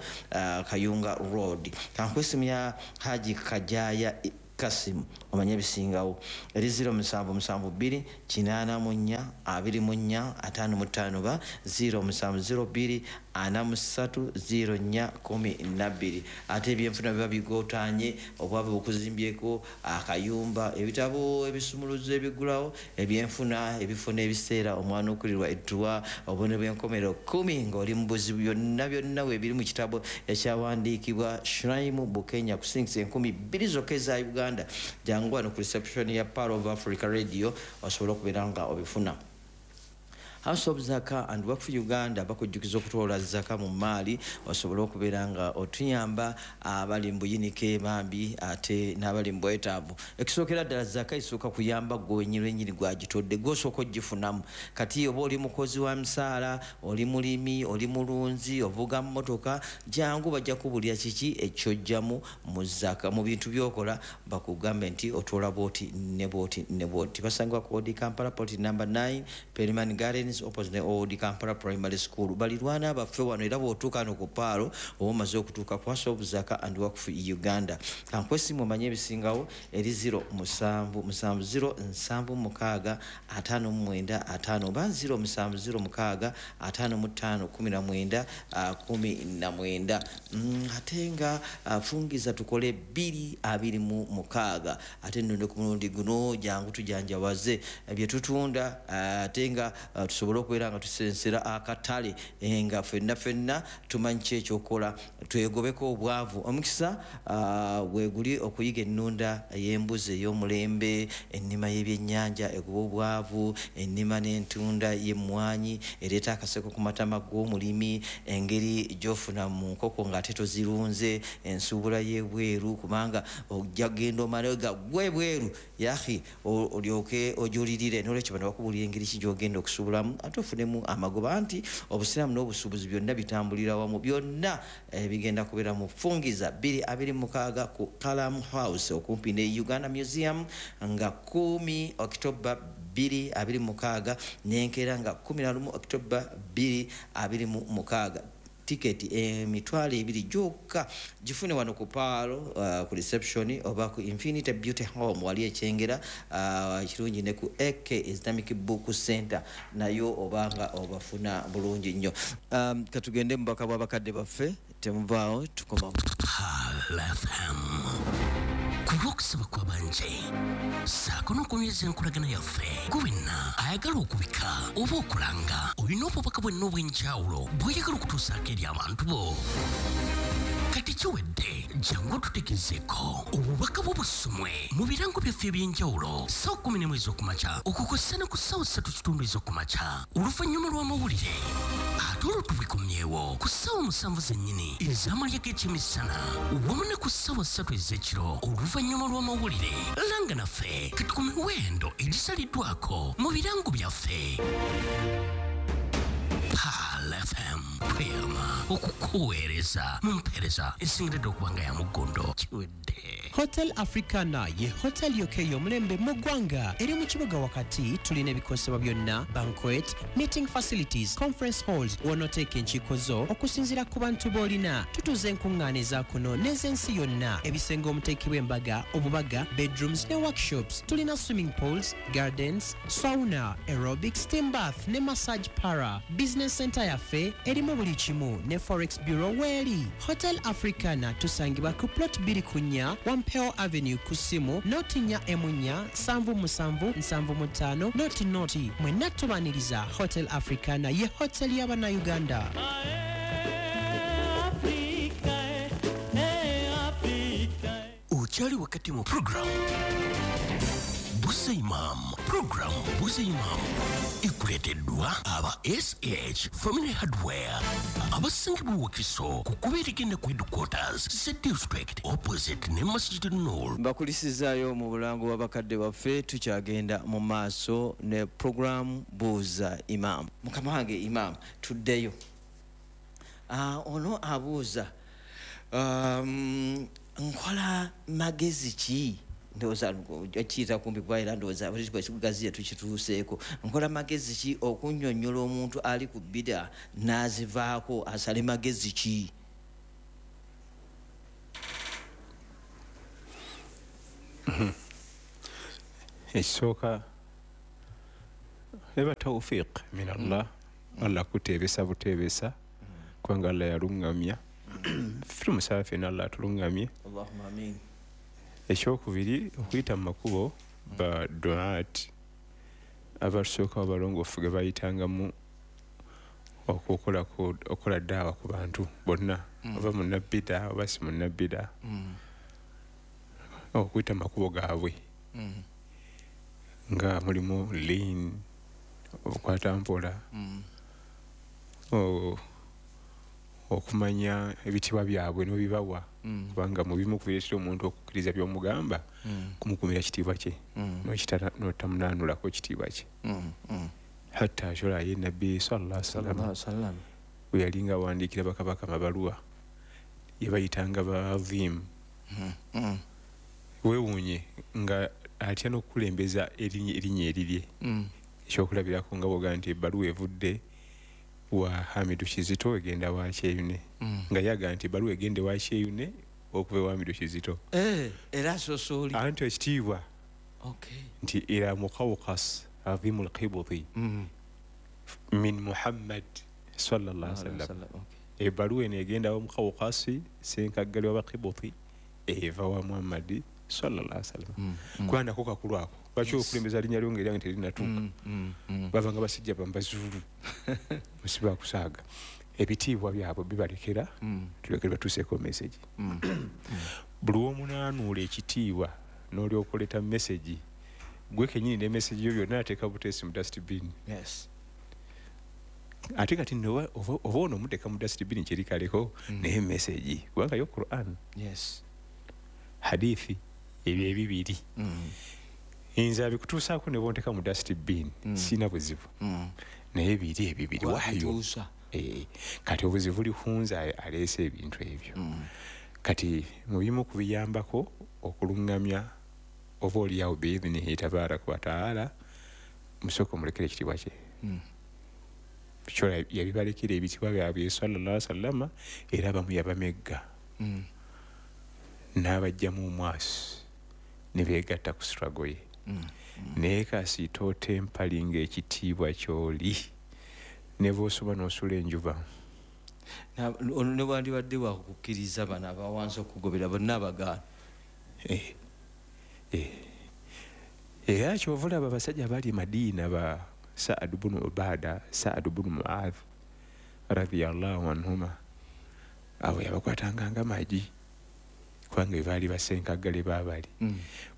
Kayunga Road. Kankuwe essimu ya Haji Kajaya Kasimu omanye ebisingawo eri 0772 84 24 55 ba 0702 43 04 12. Ate ebyenfuna biba bigootanye, obwavu bukuzimbyeko akayumba, ebitabo ebisumuluzo ebigulawo ebyenfuna, ebifo n'ebiseera omwana okulirwa edduwa, obubonero bw'enkomerero 10 ng'oli mu buzibu, byonna byonna weebiri mu kitabo ekyawandiikibwa Shraimu Bukenya ku shillings 2000 zokka eza Uganda. Jangu wano ku reception ya Pearl of Africa Radio osobola okubeera nga obifuna. House of Zaka and Waqf Uganda bakujjukiza okutoola zaka mu maali osobole okubeera nga otuyamba abali mu buyinike bambi ate n'abali mu bwetaavu. Ekisookera ddala zaka esooka kuyamba ggwe wennyini wennyini gw'agitodde, gw'osooka ogifunamu. Kati oba oli mukozi wa misaala, oli mulimi, oli mulunzi, ovuga mmotoka, jangu bajja kubulira kiki ekyojjamu mu zaka mu bintu by'okola, bakugambe nti otoola bw'oti ne bw'oti ne bw'oti. Basangibwa ku Old Kampala plot number 9 Perryman Gardens opposite Old Kampala Primary School. Balirwana baffe wano, era bw'otuuka no ku Paalo oba omaze okutuuka ku House of Zaka and Waqf Uganda. Kankuwe essimu omanye ebisingawo eri 07 70 76 59 5 oba 07 06 55 19 19. Ate nga fungiza tukole 226. Ate nno ku mulundi guno jangu tujanjawaze bye tutunda, ate nga tusobole okubeera nga tusensera akatale, nga ffenna ffenna tumanyi ki ekyokukola, twegobeko obwavu. Omukisa weeguli okuyiga ennunda y'embuzi ey'omulembe, ennima y'ebyennyanja egoba obwavu, ennima n'entunda y'emmwanyi ereeta akaseko ku matama g'omulimi, engeri gy'ofuna mu nkoko ng'ate tozirunze, ensuubula y'ebweru kubanga ojja kugenda omale gaggwe ebweru yahi olyoke ojulirire. N'olwekyo bano bakubuulira engeri ki gy'ogenda okusuubulamu ate ofunemu amagoba, anti obusiraamu n'obusuubuzi byonna bitambulira wamu, byonna bigenda kubeera mu fungiza 226 ku Kalam House okumpi ne Uganda Museum nga 10 October 2026 n'enkeera nga 11 October 2026. Tiketi 20,000 gyokka gifune wano ku Paalo, ku reception oba ku Infinity Beauty Home wali ekyengera kirungi, ne ku AK Islamic Book Center nayo obanga obafuna bulungi nnyo. Katugende mu bubaka bw'abakadde baffe, temuvaawo tukomawo. Pearl FM ku lw'okusaba kw'abangi ssaako n'okunyweza enkolagana yaffe, gwe wenna ayagala okubika oba okulanga olina obubaka bwenna obw'enjawulo bw'oyagala okutuusaako eri abantu bo, kati kiwedde jangu otutegezeeko obubaka bwo busomwe mu birango byaffe eby'enjawulo ssaawa 11 ez'okumakya okukosa ne ku ssaawa 3:15 ez'okumakya oluvannyuma lw'amawulire, ate olwo tubikomyewo ku ssaawa 7 zennyini ez'amalya g'ekyemisana wamu ne ku ssaawa 3 ez'ekiro oluvannyuma lw'amawulire. Langa naffe kati ku miwendo egisaliddwako mu birango byaffe. Pearl FM tweyama okukuweereza mu mpeereza esingiridde okuba nga ya muggondo. Kiwedde. Hotel Africana ye hotel yokka ey'omulembe mu ggwanga, eri mu kibuga wakati. Tulina ebikozesebwa byonna, banquet, meeting facilities, conference halls w'onooteeka enkiiko zo okusinziira ku bantu b'olina. Tutuuza enkuŋŋaana eza kuno n'ez'ensi yonna, ebisenge omuteekebwa embaga, obubaga, bedrooms ne workshops. Tulina swimming pools, gardens, sauna, aerobic, steam bath ne massage parlour. Business center yaffe erimu buli kimu ne forex bureau weeri. Hotel Africana tusangibwa ku plot 2 4 Wampeo Avenue, ku ssimu 0 4 7 7 75 00. Mwenna tubaniriza. Hotel Africana ye hotel y'Abannayuganda. Okyali wakati mu program Buuza Imam. Program Buuza Imam ekuleeteddwa aba SH Family Hardware abasangibwa Wakiso ku kkubo erigenda ku headquarters ze district opposite ne Masjid Nur. Mbakulisizaayo mu bulango bw'abakadde baffe. Tukyagenda mu maaso ne program Buuza Imam. Mukama wange Imam, tuddeyo. Ono abuuza, nkola magezi ki? Ndowooza kiyita kumpi kuba era ndowooza bwekikugaziya tukituuseeko. Nkola magezi ki okunnyonnyola omuntu ali ku bida n'azivaako, asale magezi ki? Ekisooka eba tawfiq min Allah. Allah kuteebesa buteebesa, kubanga Allah yaluŋŋamya. Ffe tumusaba ffenna Allah atuluŋŋamye. Allahumma amin. Ekyokubiri, okuyita mu makubo ba duat abatusooka abalongoofu ge bayitangamu okukola daawa ku bantu bonna, oba munnabida oba si munnabida, okuyita mu makubo gaabwe nga mulimu lean, obukwata mpola, okumanya ebitiibwa byabwe n'obibawa, kubanga mu bimu kubireetera omuntu okukkiriza by'omugamba kumukumira kitiibwa kye, n'otamunaanulako kitiibwa kye. Hatta kyola ye Nabbi sallallahu alaihi wasallam bwe yalinga awandiikira bakabaka amabaluwa, yabayitanga baadhimu. Weewuunye nga atya n'okukulembeza erinnya erirye. Ekyokulabirako nga bw'ogamba nti ebbaluwa evudde wa Hamidu Kizito egenda wa Kyeyune, nga yaga nti ebbaluwa egende wa Kyeyune okuva ewa Hamidu Kizito. Era asosooli anti ekitiibwa nti ila Muqawqas adhimu lqibuti min Muhammad sallallahu alaihi wasallam. Ebbaluwa eno egenda wa Muqawqasi senkaggali w'Abaqibuti eva wa Muhammadi sallallahu alaihi wasallam. Kubanga nako kakulu ako lwaki okulembeza linnya lyo ng'eryange terinatuuka? Bavanga basajja bambazuulu musiba kusaaga. Ebitiibwa byabwe bibalekera, tulekere batuuseeko message. Buli w'omunaanuula ekitiibwa n'olyoka oleeta message, gwe kennyini ne message yo byonna ateeka buteesi mu dustbin. Ate kati nno oba ono omuteeka mu dustbin kyerikaleko naye message, kubanga yo Quran, hadithi, ebyo ebibiri nze abikutuusaako ne bonteeka mu dustbin, sirina buzibu, naye biri ebibiri wahyu. Kati obuzibu buli ku nze aleese ebintu ebyo. Kati mu bimu ku biyambako okuluŋŋamya oba oliawo biidhinihi tabaraka wataala, musooka omulekere ekitiibwa kye. Kyola yabibalekera ebitiibwa byabwe sallallahu alaihi wasallam, era abamu yabamegga n'abajjamu omwasi ne beegatta ku struggle ye. Naye kasita otempalinga ekitiibwa ky'oli ne bw'osoma n'osula enjuba. Ne wandibadde wakukkiriza bano abawansi okugobera bonna abagaana. Era kyova olaba abasajja abali e Madiina ba Saad bunu Ubada, Saad bunu Muadh radhiyallahu anhuma, abo yabakwatanga nga magi, kubanga baali basenkaggale baabali.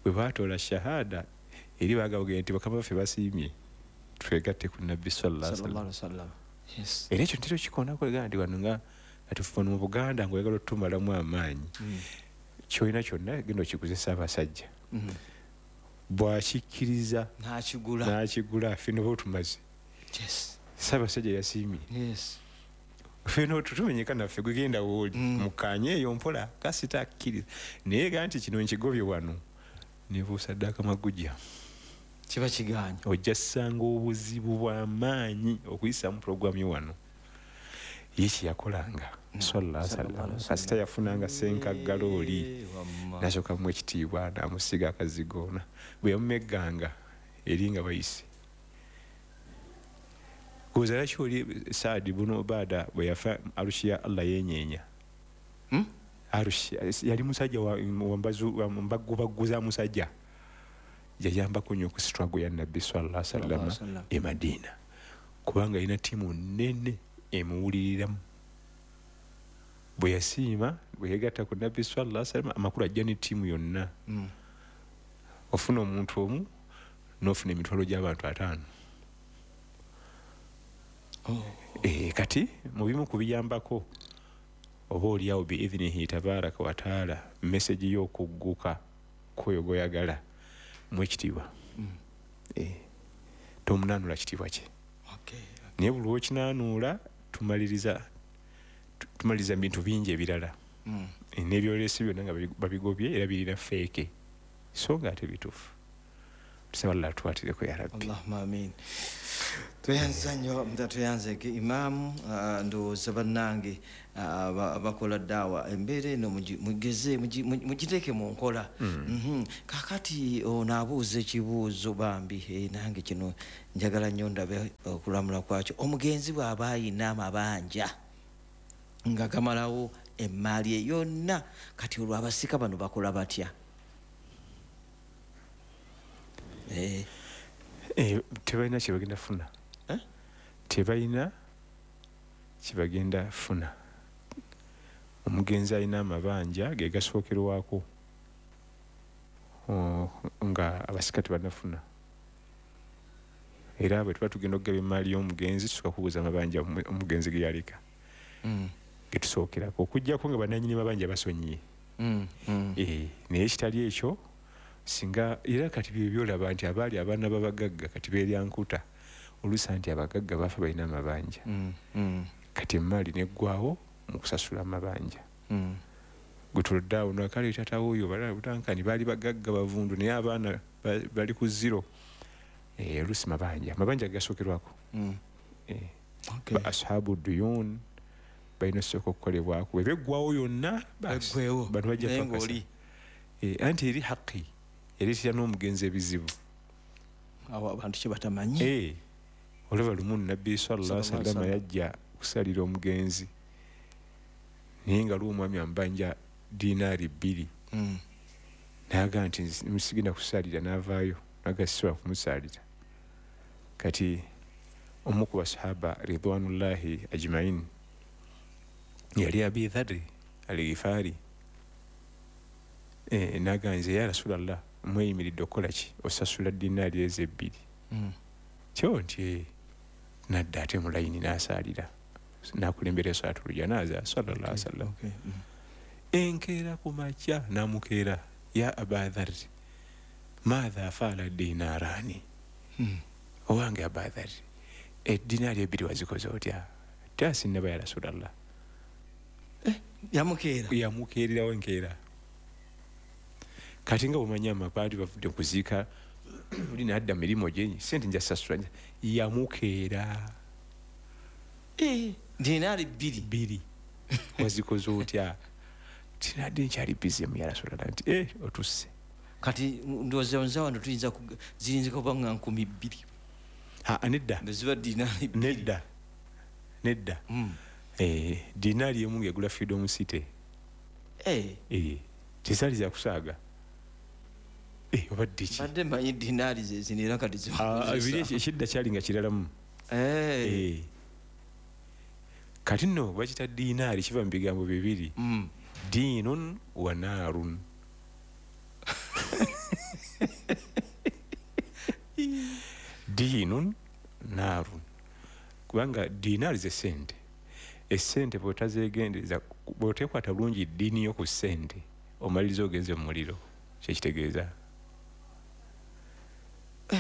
Bwe baatoola shahada eri bagabugenda nti bakama baffe basiimye twegatte ku Nabbi sallallahu alaihi wasallam. Era ekyo ntera okikoonako ega nti wano nga kati mu Buganda ng'oyagala otumalamu amaanyi, ky'olina kyonna genda okiguze Ssaabasajja. Bw'akikkiriza n'akigula ffe noba otumaze. Ssaabasajja yasiimye. Ffenna tumenyeka naffe gwe genda w'oli mukkaanye eyo mpola kasita akkiriza. Naye ga nti kino nkigobye wano ne buusaddaaka magujja kiba kigaanyi. Ojja ssanga obuzibu bw'amaanyi okuyisaamu pulogulaamu yo wano. Ye kye yakolanga sallallahu alaihi wasallam, kasita yafunanga ssenkaggala oli n'asooka amuwa ekitiibwa n'amusiiga akazigo, bwe yamumegganga eri nga bayise. Kuzaala ki oli Saadi bunu Ubada bwe yafa arushi ya Allah yeenyeenya. Arushi yali musajja wa mbagubaggu za musajja. Yayambako nnyo ku struggle ya Nabbi sallallahu alaihi wasallam e Madina, kubanga alina ttiimu nnene emuwuliriramu. Bwe yasiima bwe yeegatta ku Nabbi sallallahu alaihi wasallam, amakulu ajja ne ttiimu yonna. Ofuna omuntu omu N'ofuna emitwalo gy'abantu 50. Kati mu bimu ku biyambako oba oliawo biidhinihi tabaraka wataala meseji y'okugguka kwoyo gw'oyagala mu ekitiibwa. Tomunaanula kitiibwa kye. Naye buli lw'okinaanuula tumaliriza bintu bingi ebirala. N'ebyolesi byonna nga babigobye era birina feeke so nga ate bituufu. Tusaba Allah atuwatireko ya Rabbi. Allahumma amin. Tweyanza nnyo, tweyanzeke imaamu. Ndowooza bannange abakola daawa embeera eno mugeze mugiteeke mu nkola. Kakati ono abuuza ekibuuzo bambi, nange kino njagala nnyo ndabe okulamula kwakyo. Omugenzi bw'aba ayina amabanja nga gamalawo emmaali ye yonna, kati olwo abasika bano bakola batya? Tebalina kyebagenda funa. Tebalina kyebagenda funa. Omugenzi alina amabanja ge gasookerwako nga abasika tebannafuna. Era bwe tuba tugenda okugaba emmaali y'omugenzi tusooka kubuuza amabanja omugenzi ge yaleka. Ge tusookerako okuggyako nga bannannyini mabanja basonyiye. Naye ekitali ekyo singa era kati bye byolaba nti abaali abaana b'abagagga kati beerya nkuta oluusi nti abagagga baafa balina amabanja. Kati emmaali neggwawo mu kusasula amabanja. Gwe tulodde awo nakale taata wuuyo balala butankani baali bagagga bavundu naye abaana bali ku zero. Oluusi mabanja gasookerwako. Ba ashabu duyun balina osooka okukolebwako bwe beggwawo yonna bano bajja pakasa. Anti eri haqi ereetera n'omugenzi ebizibu. Awo abantu kye batamanyi. Olaba lumu Nabbi sallallahu alaihi wasallam yajja okusalira omugenzi naye nga lw'omwami amubanja dinaari 2. N'agamba nti musigenda kusalira n'avaayo n'agamba sisobola kumusalira. Kati omu ku basahaba ridwanullahi ajmain yali Abi Dharri al-Ghifari. N'agamba nze ya Rasulallah mweyimiridde okukola ki? Osasula dinaari ezo 2. Kyo nti nadda ate mu layini n'asaalira n'akulembera salaatul janaaza sallallahu alaihi wasallam. Enkeera ku makya n'amukeera ya Aba Dharri maadha faala dinarani. Owange Aba Dharri edinaari 2 wazikoze otya? Tasinnaba ya Rasulallah. Yamukeera yamukeererawo enkeera. Kati nga bw'omanyi amabaali bavudde kuziika oli n'adda mu mirimu gye sente nja sasula yamukeera. Dinaari 2 wazikoze otya? Tinadde nkyali bizimu ya Rasulallah nti otusse. Kati ndowooza nze wano tuyinza ziyinza kuba nga 2,000. Nedda. Ziba dinaari 2. Nedda. Dinaari emu ng'egula Freedom City. Tezaali za kusaaga. Obadde ki? Badde mmanyi dinaari ze zino era kati biri ekidda kyali nga kiralamu. Kati nno bakita dinaari kiva mu bigambo bibiri. Diinun wa naarun. Diinun naarun. Kubanga dinaari ze ssente. Essente bw'otazeegendereza bw'oteekwata bulungi ddiini yo ku ssente omaliriza ogenze mu muliro. Kyekitegeeza.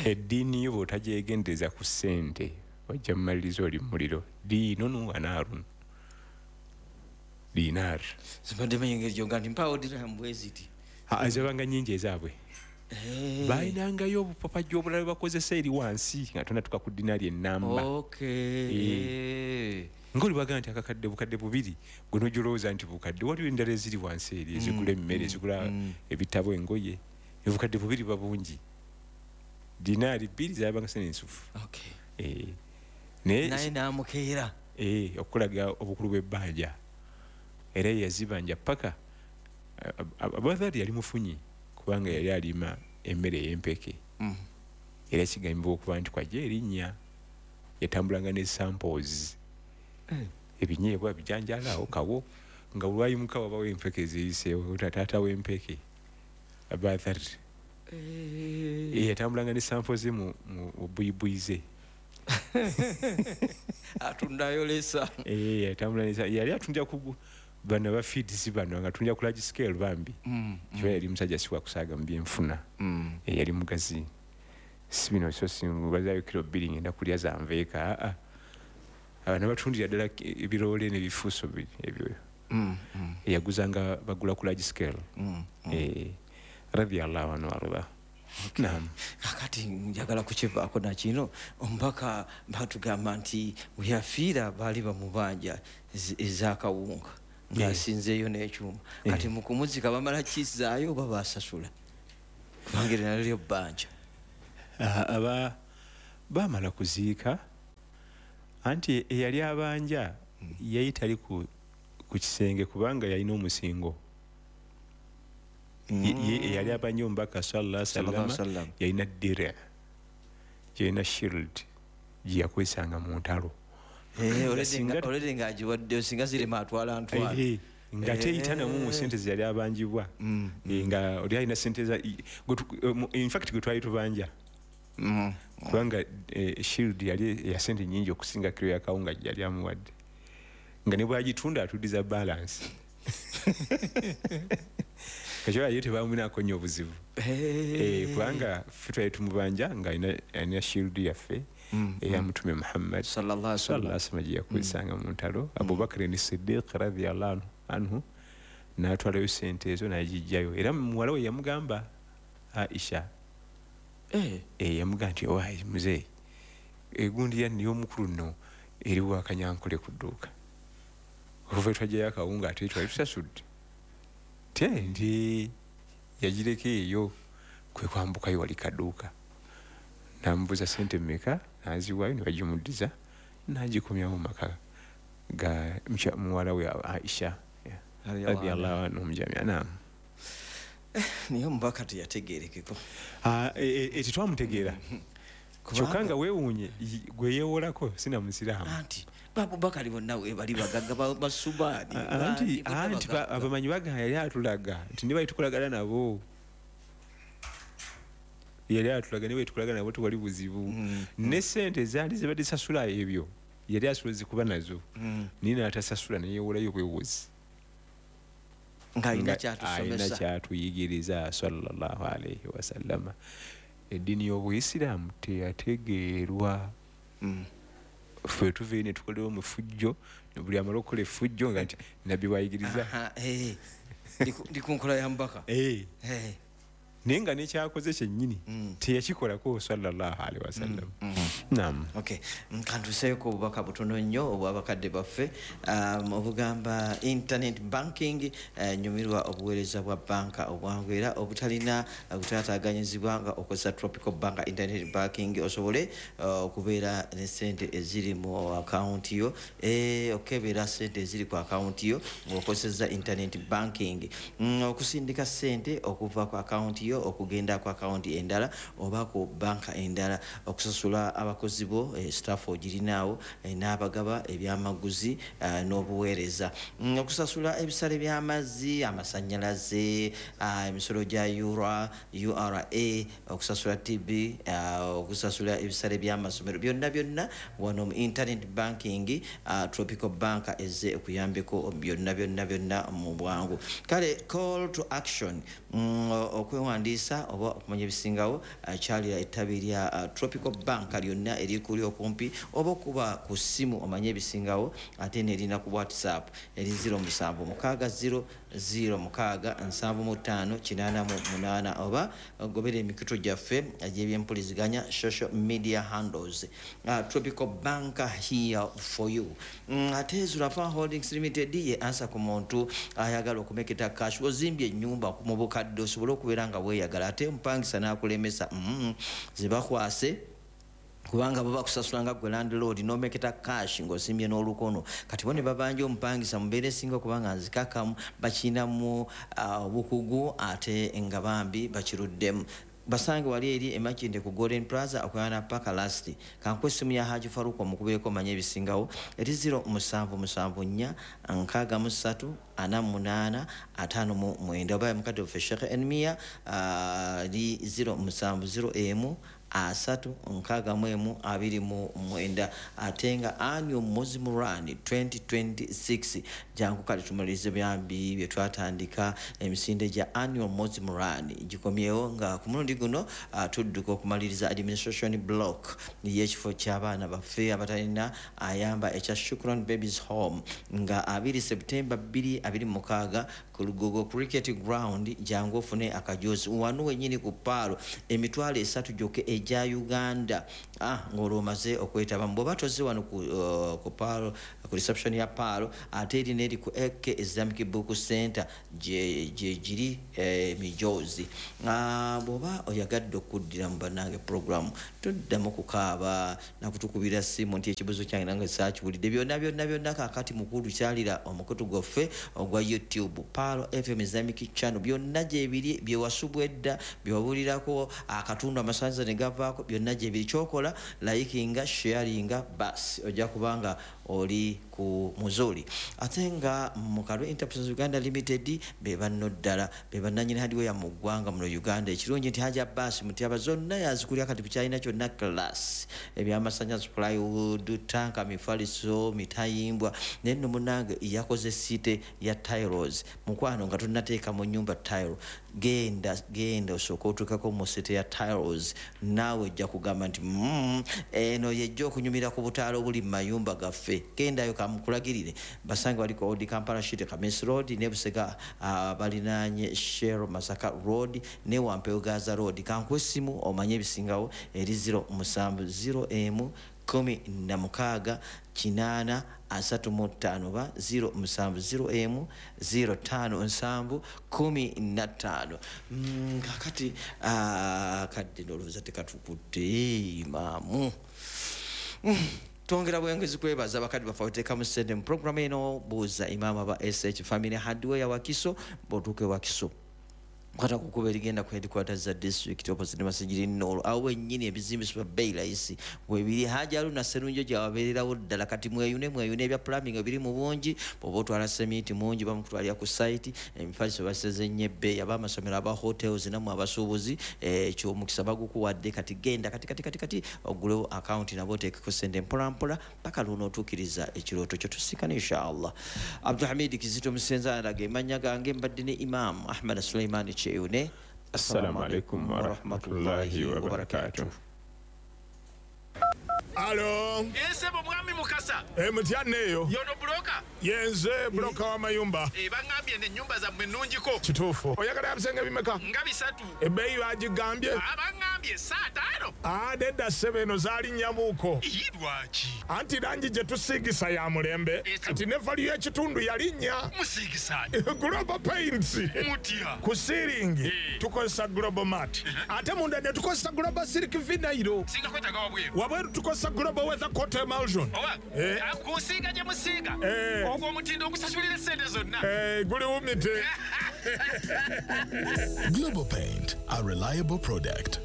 Eddiini yo bw'otagyegendereza ku ssente ojja mumaliriza oli mu muliro. Diinun wa naarun. Dinar. Zibadde manyi engeri gy'ogamba nti mpaawo dirham bwe ziti. Zibanga nnyingi ezaabwe. Balinangayo obupapajjo obulala bwe bakozesa eri wansi nga tonnatuuka ku dinaari ennamba. Ng'oli bagamba nti akakadde bukadde 2 gwe n'ojolowooza nti bukadde waliwo endala eziri wansi eri ezigula emmere ezigula ebitabo engoye obukadde 2 buba bungi. Dinaari 2 zaabanga sente ensufu. Naye n'amukeera. Okulaga obukulu bw'ebbanja. Era yazibanja paka Abu Dharri yali mufunyi kubanga yali alima emmere ey'empeke. Era kigambibwa okuba nti kwajja erinnya yatambulanga ne samples. Ebinyeebwa bijanjaala awo kawo nga lwayimuka wabawo empeke eziyiseewo taata w'empeke Abu Dharri. Yatambulanga ne sample ze mu buyibuyi ze. Atundayo lesa. Yatambula yali atundira ku bano ba feeds bano nga atundira ku large scale bambi. Kiba yali musajja si wa kusaaga mu byenfuna. Yali mugazi. Si bino so singubazayo kilo 2 ngenda kulya zanveeka. Abana batundira ddala ebiroole n'ebifuuso ebyo. Yaguzanga bagula ku large scale. Radiyallahu anhu warda. Naam. Kakati njagala kukivaako na kino omubaka batugamba nti bwe yafiira baali bamubanja ez'akawunga ng'asinzeeyo n'ekyuma. Kati mu kumuzika bamala kizaayo oba basasula? Kubanga eryo nalyo lyo bbanja. Aba bamala kuziika anti eyali abanja yali tali ku kisenge kubanga yalina omusingo. Eyali abanja omubaka sallallahu alaihi wasallam yalina dire, yalina shield gye yakozesanga mu ntalo. Already ng'agiwaddeyo singa zirema atwala ntwala. Nga teyitanamu mu ssente ze yali abanjibwa. Nga oli alina ssente za in fact gwe twali tubanja. Kubanga shield yali ya ssente nnyingi okusinga kiro ya kawunga gye yali amuwadde. Nga ne bw'agitunda atuddiza balance. Kachola ye tebamunako nnyo obuzibu. Kubanga ffe twali tumubanja nga alina shield yaffe eya Mutume Muhammad sallallahu alaihi wasallam gye yakozesanga mu ntalo. Abubakar ni Siddiq radhiyallahu anhu n'atwalayo ssente ezo n'agiggyayo. Era muwala we yamugamba Aisha. Yamugamba nti owaayi muzeeyi egundi ya y'omukulu nno eri wakanyankole ku dduuka. Okuva twajjayo akawunga ate twali tusasudde. Nti yagireka eyo kwe kwambukayo wali kaduuka. N'amubuuza ssente mmeka n'aziwaayo ne bagimuddiza n'agikomyawo mu maka ga muwala we Aisha radiyallahu anhum jami'an. Naam. Naye omubaka teyategeerekeko. Tetwamutegeera. Kyokka nga weewuunye gwe yeewolako sina musiraamu. Anti Abubakari bonna we bali bagagga basubaani. Anti abamanyi bagamba yali atulaga nti ne bali tukolagana nabo. Yali atulaga ne bali tukolagana nabo tewali buzibu. Ne ssente zaali zibadde sasula ebyo yali asobola kuba nazo. Naye n'atasasula ne yeewolayo bwewozi. Nga alina ky'atusomesa. Alina ky'atuyigiriza sallallahu alaihi wasallama. Eddiini y'Obuyisiraamu teyategeerwa. Ffe tuva ne tukolewo mu fujjo, buli amala okukola effujjo nga nti nabbi bw'ayigiriza. Ndi ku nkola ya mubaka. Naye nga n'ekyakoze kyennyini teyakikolako sallallahu alaihi wasallam. Naam. Okay. Kantuseeko obubaka butono nnyo obw'abakadde baffe obugamba internet banking. Nyumirwa obuweereza bwa banka obwangu era obutalina kutaataaganyizibwa nga okozesa Tropical Bank internet banking osobole okubeera ne ssente eziri mu akawunti yo, okebera ssente eziri ku akawunti yo ng'okozesa internet banking, okusindika ssente okuva ku akawunti yo okugenda ku akawunti endala oba ku banka endala, okusasula abakozi bo staff ogirinaawo n'abagaba ebyamaguzi n'obuweereza, okusasula ebisale by'amazzi, amasannyalaze, emisolo gya URA, okusasula TB, okusasula ebisale by'amasomero, byonna byonna wano mu internet banking. Tropical Bank ezze okuyambeko byonna byonna byonna mu bwangu. Kale call to action, okwewandiisa oba okumanya ebisingawo kyalira ettabi lya Tropical Bank lyonna erikuli okumpi oba okuba ku ssimu omanye ebisingawo, ate nerina ku WhatsApp eri 0760 06 75 88 oba gobera emikutu gyaffe egy'ebyempuliziganya social media handles. Tropical Bank here for you. Ate Zurafa Holdings Limited ye ansa ku muntu ayagala okumeketa cash, ozimbye ennyumba mu bukadde osobole okubeera nga weeyagala ate omupangisa n'akulemesa zibakwase kubanga baba kusasula nga gwe landlord n'omeketa cash ng'osimbye n'olukono. Kati bo ne babanja omupangisa mu mbeera esinga kubanga nzikakamu bakirinamu obukugu ate nga bambi bakiruddemu. Basange wali eri emakinde ku Golden Plaza okuyana paka last. Kankuwe essimu ya Haji Faruku omukubireko omanye ebisingawo eri 0774 63 48 59. Oba mukadde waffe Sheikh Enmia eri 0701 3 61 29. Ate nga annual Muslim Run 2026 jangu kale tumalirize byambi bye twatandika. Emisinde gya annual Muslim Run gikomyewo nga ku mulundi guno tudduka okumaliriza administration block y'ekifo ky'abaana baffe abatalina ayamba ekya Shukran Babies Home nga 2 September 2026 ku Lugogo Cricket Ground. Jangu ofune akajozi wano wennyini ku Paalo, 30,000 gyokka egya Uganda. Ng'olwo omaze okwetaba bw'oba tozze wano ku Paalo, ku reception ya Paalo, ate eri n'eri ku AK Islamic Book Center gye giri emijozi. Bw'oba oyagadde okuddira mu bannange program, toddamu kukaaba nakutukubira simu nti ekibuzo kyange nange saakiwulidde. Byonna byonna byonna kaakati mukulu kyalira omukutu gwaffe ogwa YouTube Paalo FM Islamic Channel, byonna gyebiri byewasubwa edda byewabulirako akatundu amasanza ne gavaako, byonna gyebiri. Kyokola likinga, sharinga, basi ojja kubanga oli ku muzuli. Ate nga Mukalwe Enterprises Uganda Limited be banno ddala be bannannyini hardware mu ggwanga muno Uganda. Ekirungi nti Haji Abbas Mutyaba zonna yazikulya kati bukyalina kyonna class, ebyamasanyalaze, plywood, tanka, mifaliso, mitayimbwa. Naye nno munnange yakoze site ya tiles. Mukwano nga tonnateeka mu nnyumba tile, genda genda osooke otuukeko mu site ya tiles, naawe ojja kugamba nti eno yejja okunyumira ku butaala obuli mu mayumba gaffe. Gendayo kamukulagirire. Basange bali ku Old Kampala Street, Kamis Road, ne Busega balinaanye Shell Masaka Road ne Wampeo Gaza Road. Kankuwe essimu omanye ebisingawo eri 0701 16 8 35 oba 0701 05 7 15. Kakati kadde ndowooza tekatukutte imaamu. Twongera bwengezi kwebaza abakadde baffe abateekamu ssente mu programu eno. Buuza Imaamu aba SH Family Hardware Wakiso. Bw'otuuka e Wakiso, kwata ku kkubo erigenda ku headquarters za district opposite Masijiri Nolo, awo wennyini ebizimbisibwa bbeeyi layisi webiri. Haji Haruna Sserunjo gyawabeererawo ddala. Kati mweyune mweyune, ebya plumbing ebiri mu bungi. Bw'oba otwala semiti mungi, bamukutwalira ku site. Emifaliso baseze nnyo ebbeeyi. Ab'amasomero, aba hotels, nammwe abasuubuzi, ekyo omukisa bagukuwadde. Kati genda kati kati kati kati ogulewo akawunti nabo oteekeko ssente mpolampola paka lw'onootuukiriza ekirooto kyo. Tusikane inshallah. Abdulhamid Kizito Musenza alaga emannya gange, mbadde ne Imam Ahmad Suleimani Kyeyune. Assalamu alaikum warahmatullahi wabarakatuh. Alo. Ssebo mwami Mukasa. Mutya neeyo. Yono broker. Yenze broker w'amayumba. Bangambye n'ennyumba zammwe nnungiko. Kituufu. Oyagala ebisenge bimeka? Nga 3. Ebbeeyi bagigambye? Bangambye 5. Nedda ssebo, eno zaalinnya-muko. Ii, lwaki? Anti langi gye tusiigisa ya mulembe. Kati ne value y'ekitundu yalinnya. Musiigisa. Global Paints. Mutya. Ku ceiling tukozesa Global Mat. Ate munda ne tukozesa Global Silk Vinyl. Singa kwetaaga wabweru. Wabweru tukozesa Global Weather Coat Emulsion. Oba kusiiga gye musiiga. Ogwo omutindo ogusasulira essente zonna. Guli wumite. Global Paint, a reliable product.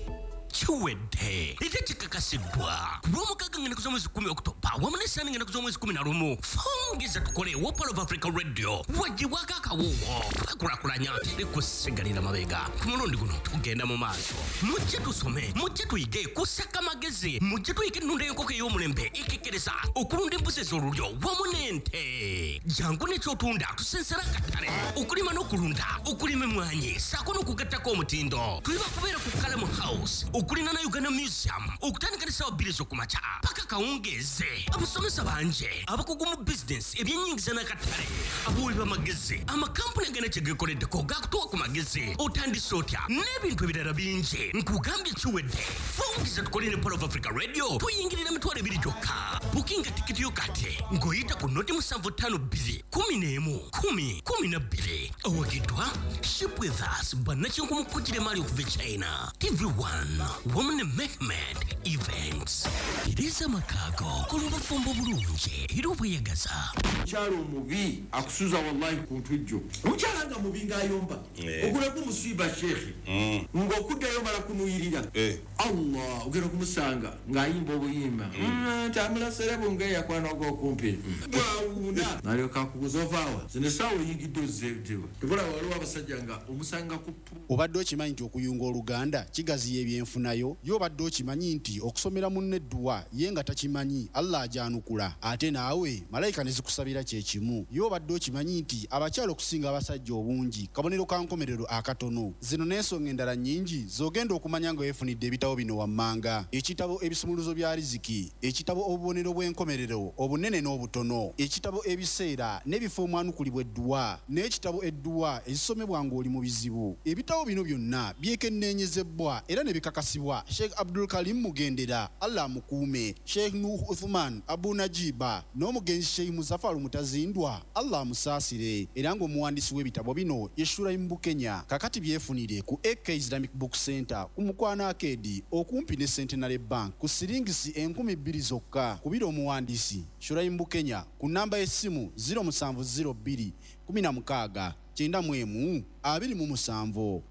Kiwedde ate kikakasiddwa ku lwomukaaga ngenda z'omwezi 10 Okutoba wamu n'essaani ngenda z'omwezi 11. Fongeza tukole wa Pearl of Africa Radio wagibwako akawuwo twekulakulanya teri kusigalira mabega. Ku mulundi guno tugenda mu maaso. Mujje tusome, mujje tuyige kusaka magezi, mujje tuyige ennunda y'enkoko ey'omulembe ekekkereza okulunda embuzi ez'olulyo wamu n'ente. Jangu n'ekyotunda tusensera akatale, okulima n'okulunda, okulima emmwanyi ssaako n'okugattako omutindo. Tuli bakubeera ku Kalamu House okulina na Uganda Museum okutandika ne ssaawa 2 ez'okumakya paka kawungeeze. Abasomesa bangi abakugu mu bizinesi, ebyennyingiza n'akatale, abawi b'amagezi, amakampuni agana kye geekoleddeko gakutuwa ku magezi otandise otya n'ebintu ebirala bingi. Nkugambye kiwedde. Fungiza tukole ne Pearl of Africa Radio, tuyingirira 20,000 gyokka. Bukinga. tikiti yo kati ng'oyita ku noti 752 11 10 12. Awagiddwa Ship With Us, bannakinku mu kujira emaali okuva e China, TV1 wamu ne Mehmed Events. Tereza amakaago kola obufumbo bulungi era obweyagaza. Omukyala omubi akusuza wallahi ku ntujjo. Omukyala nga mubi ng'ayomba, ogulako omusiiba sheekhe, ng'okuddayo mala kunuyirira. Allah, ogenda okumusanga ng'ayimba obuyimba nti amulaserebu ng'eyakwana ogw'okumpi bwawuuna n'alyoka akubuuza ovaawa zino essaawa oyingidde ozzeewa. Tebula waliwo abasajja nga omusanga ku Obadde okimanyi nti okuyunga oluganda kigaziya ebyenfunayo? Ye obadde okimanyi nti okusomera munno edduwa ye nga takimanyi, Allah agyanukula ate naawe malayika ne zikusabira kye kimu? Ye obadde okimanyi nti abakyala okusinga abasajja obungi kabonero ka nkomerero akatono? Zino n'ensonga endala nnyingi z'ogenda okumanya nga weefunidde ebitabo bino wammanga: ekitabo Ebisumuluzo bya Riziki, ekitabo Obubonero bw'enkomerero obunene n'obutono, ekitabo Ebiseera n'ebifo omwanukulibwa edduwa, n'ekitabo Edduwa ezisomebwa ng'oli mu bizibu. Ebitabo bino byonna byekenneenyezebwa era ne bikakasibwa Sheikh Abdul Karim Mugendera, Allah amukuume, Sheikh Nuh Uthman Abu Najiba n'omugenzi Sheikh Muzafaru Mutazindwa, Allah amusaasire, era ng'omuwandiisi w'ebitabo bino ye Shuraim Bukenya. Kakati byefunire ku AK Islamic Book Center ku Mukwano Arcade okumpi ne Centenary Bank ku siringisi 2000 zokka. Kubira omuwandiisi Shuraim Bukenya ku nnamba y'essimu 0702 16 91 27.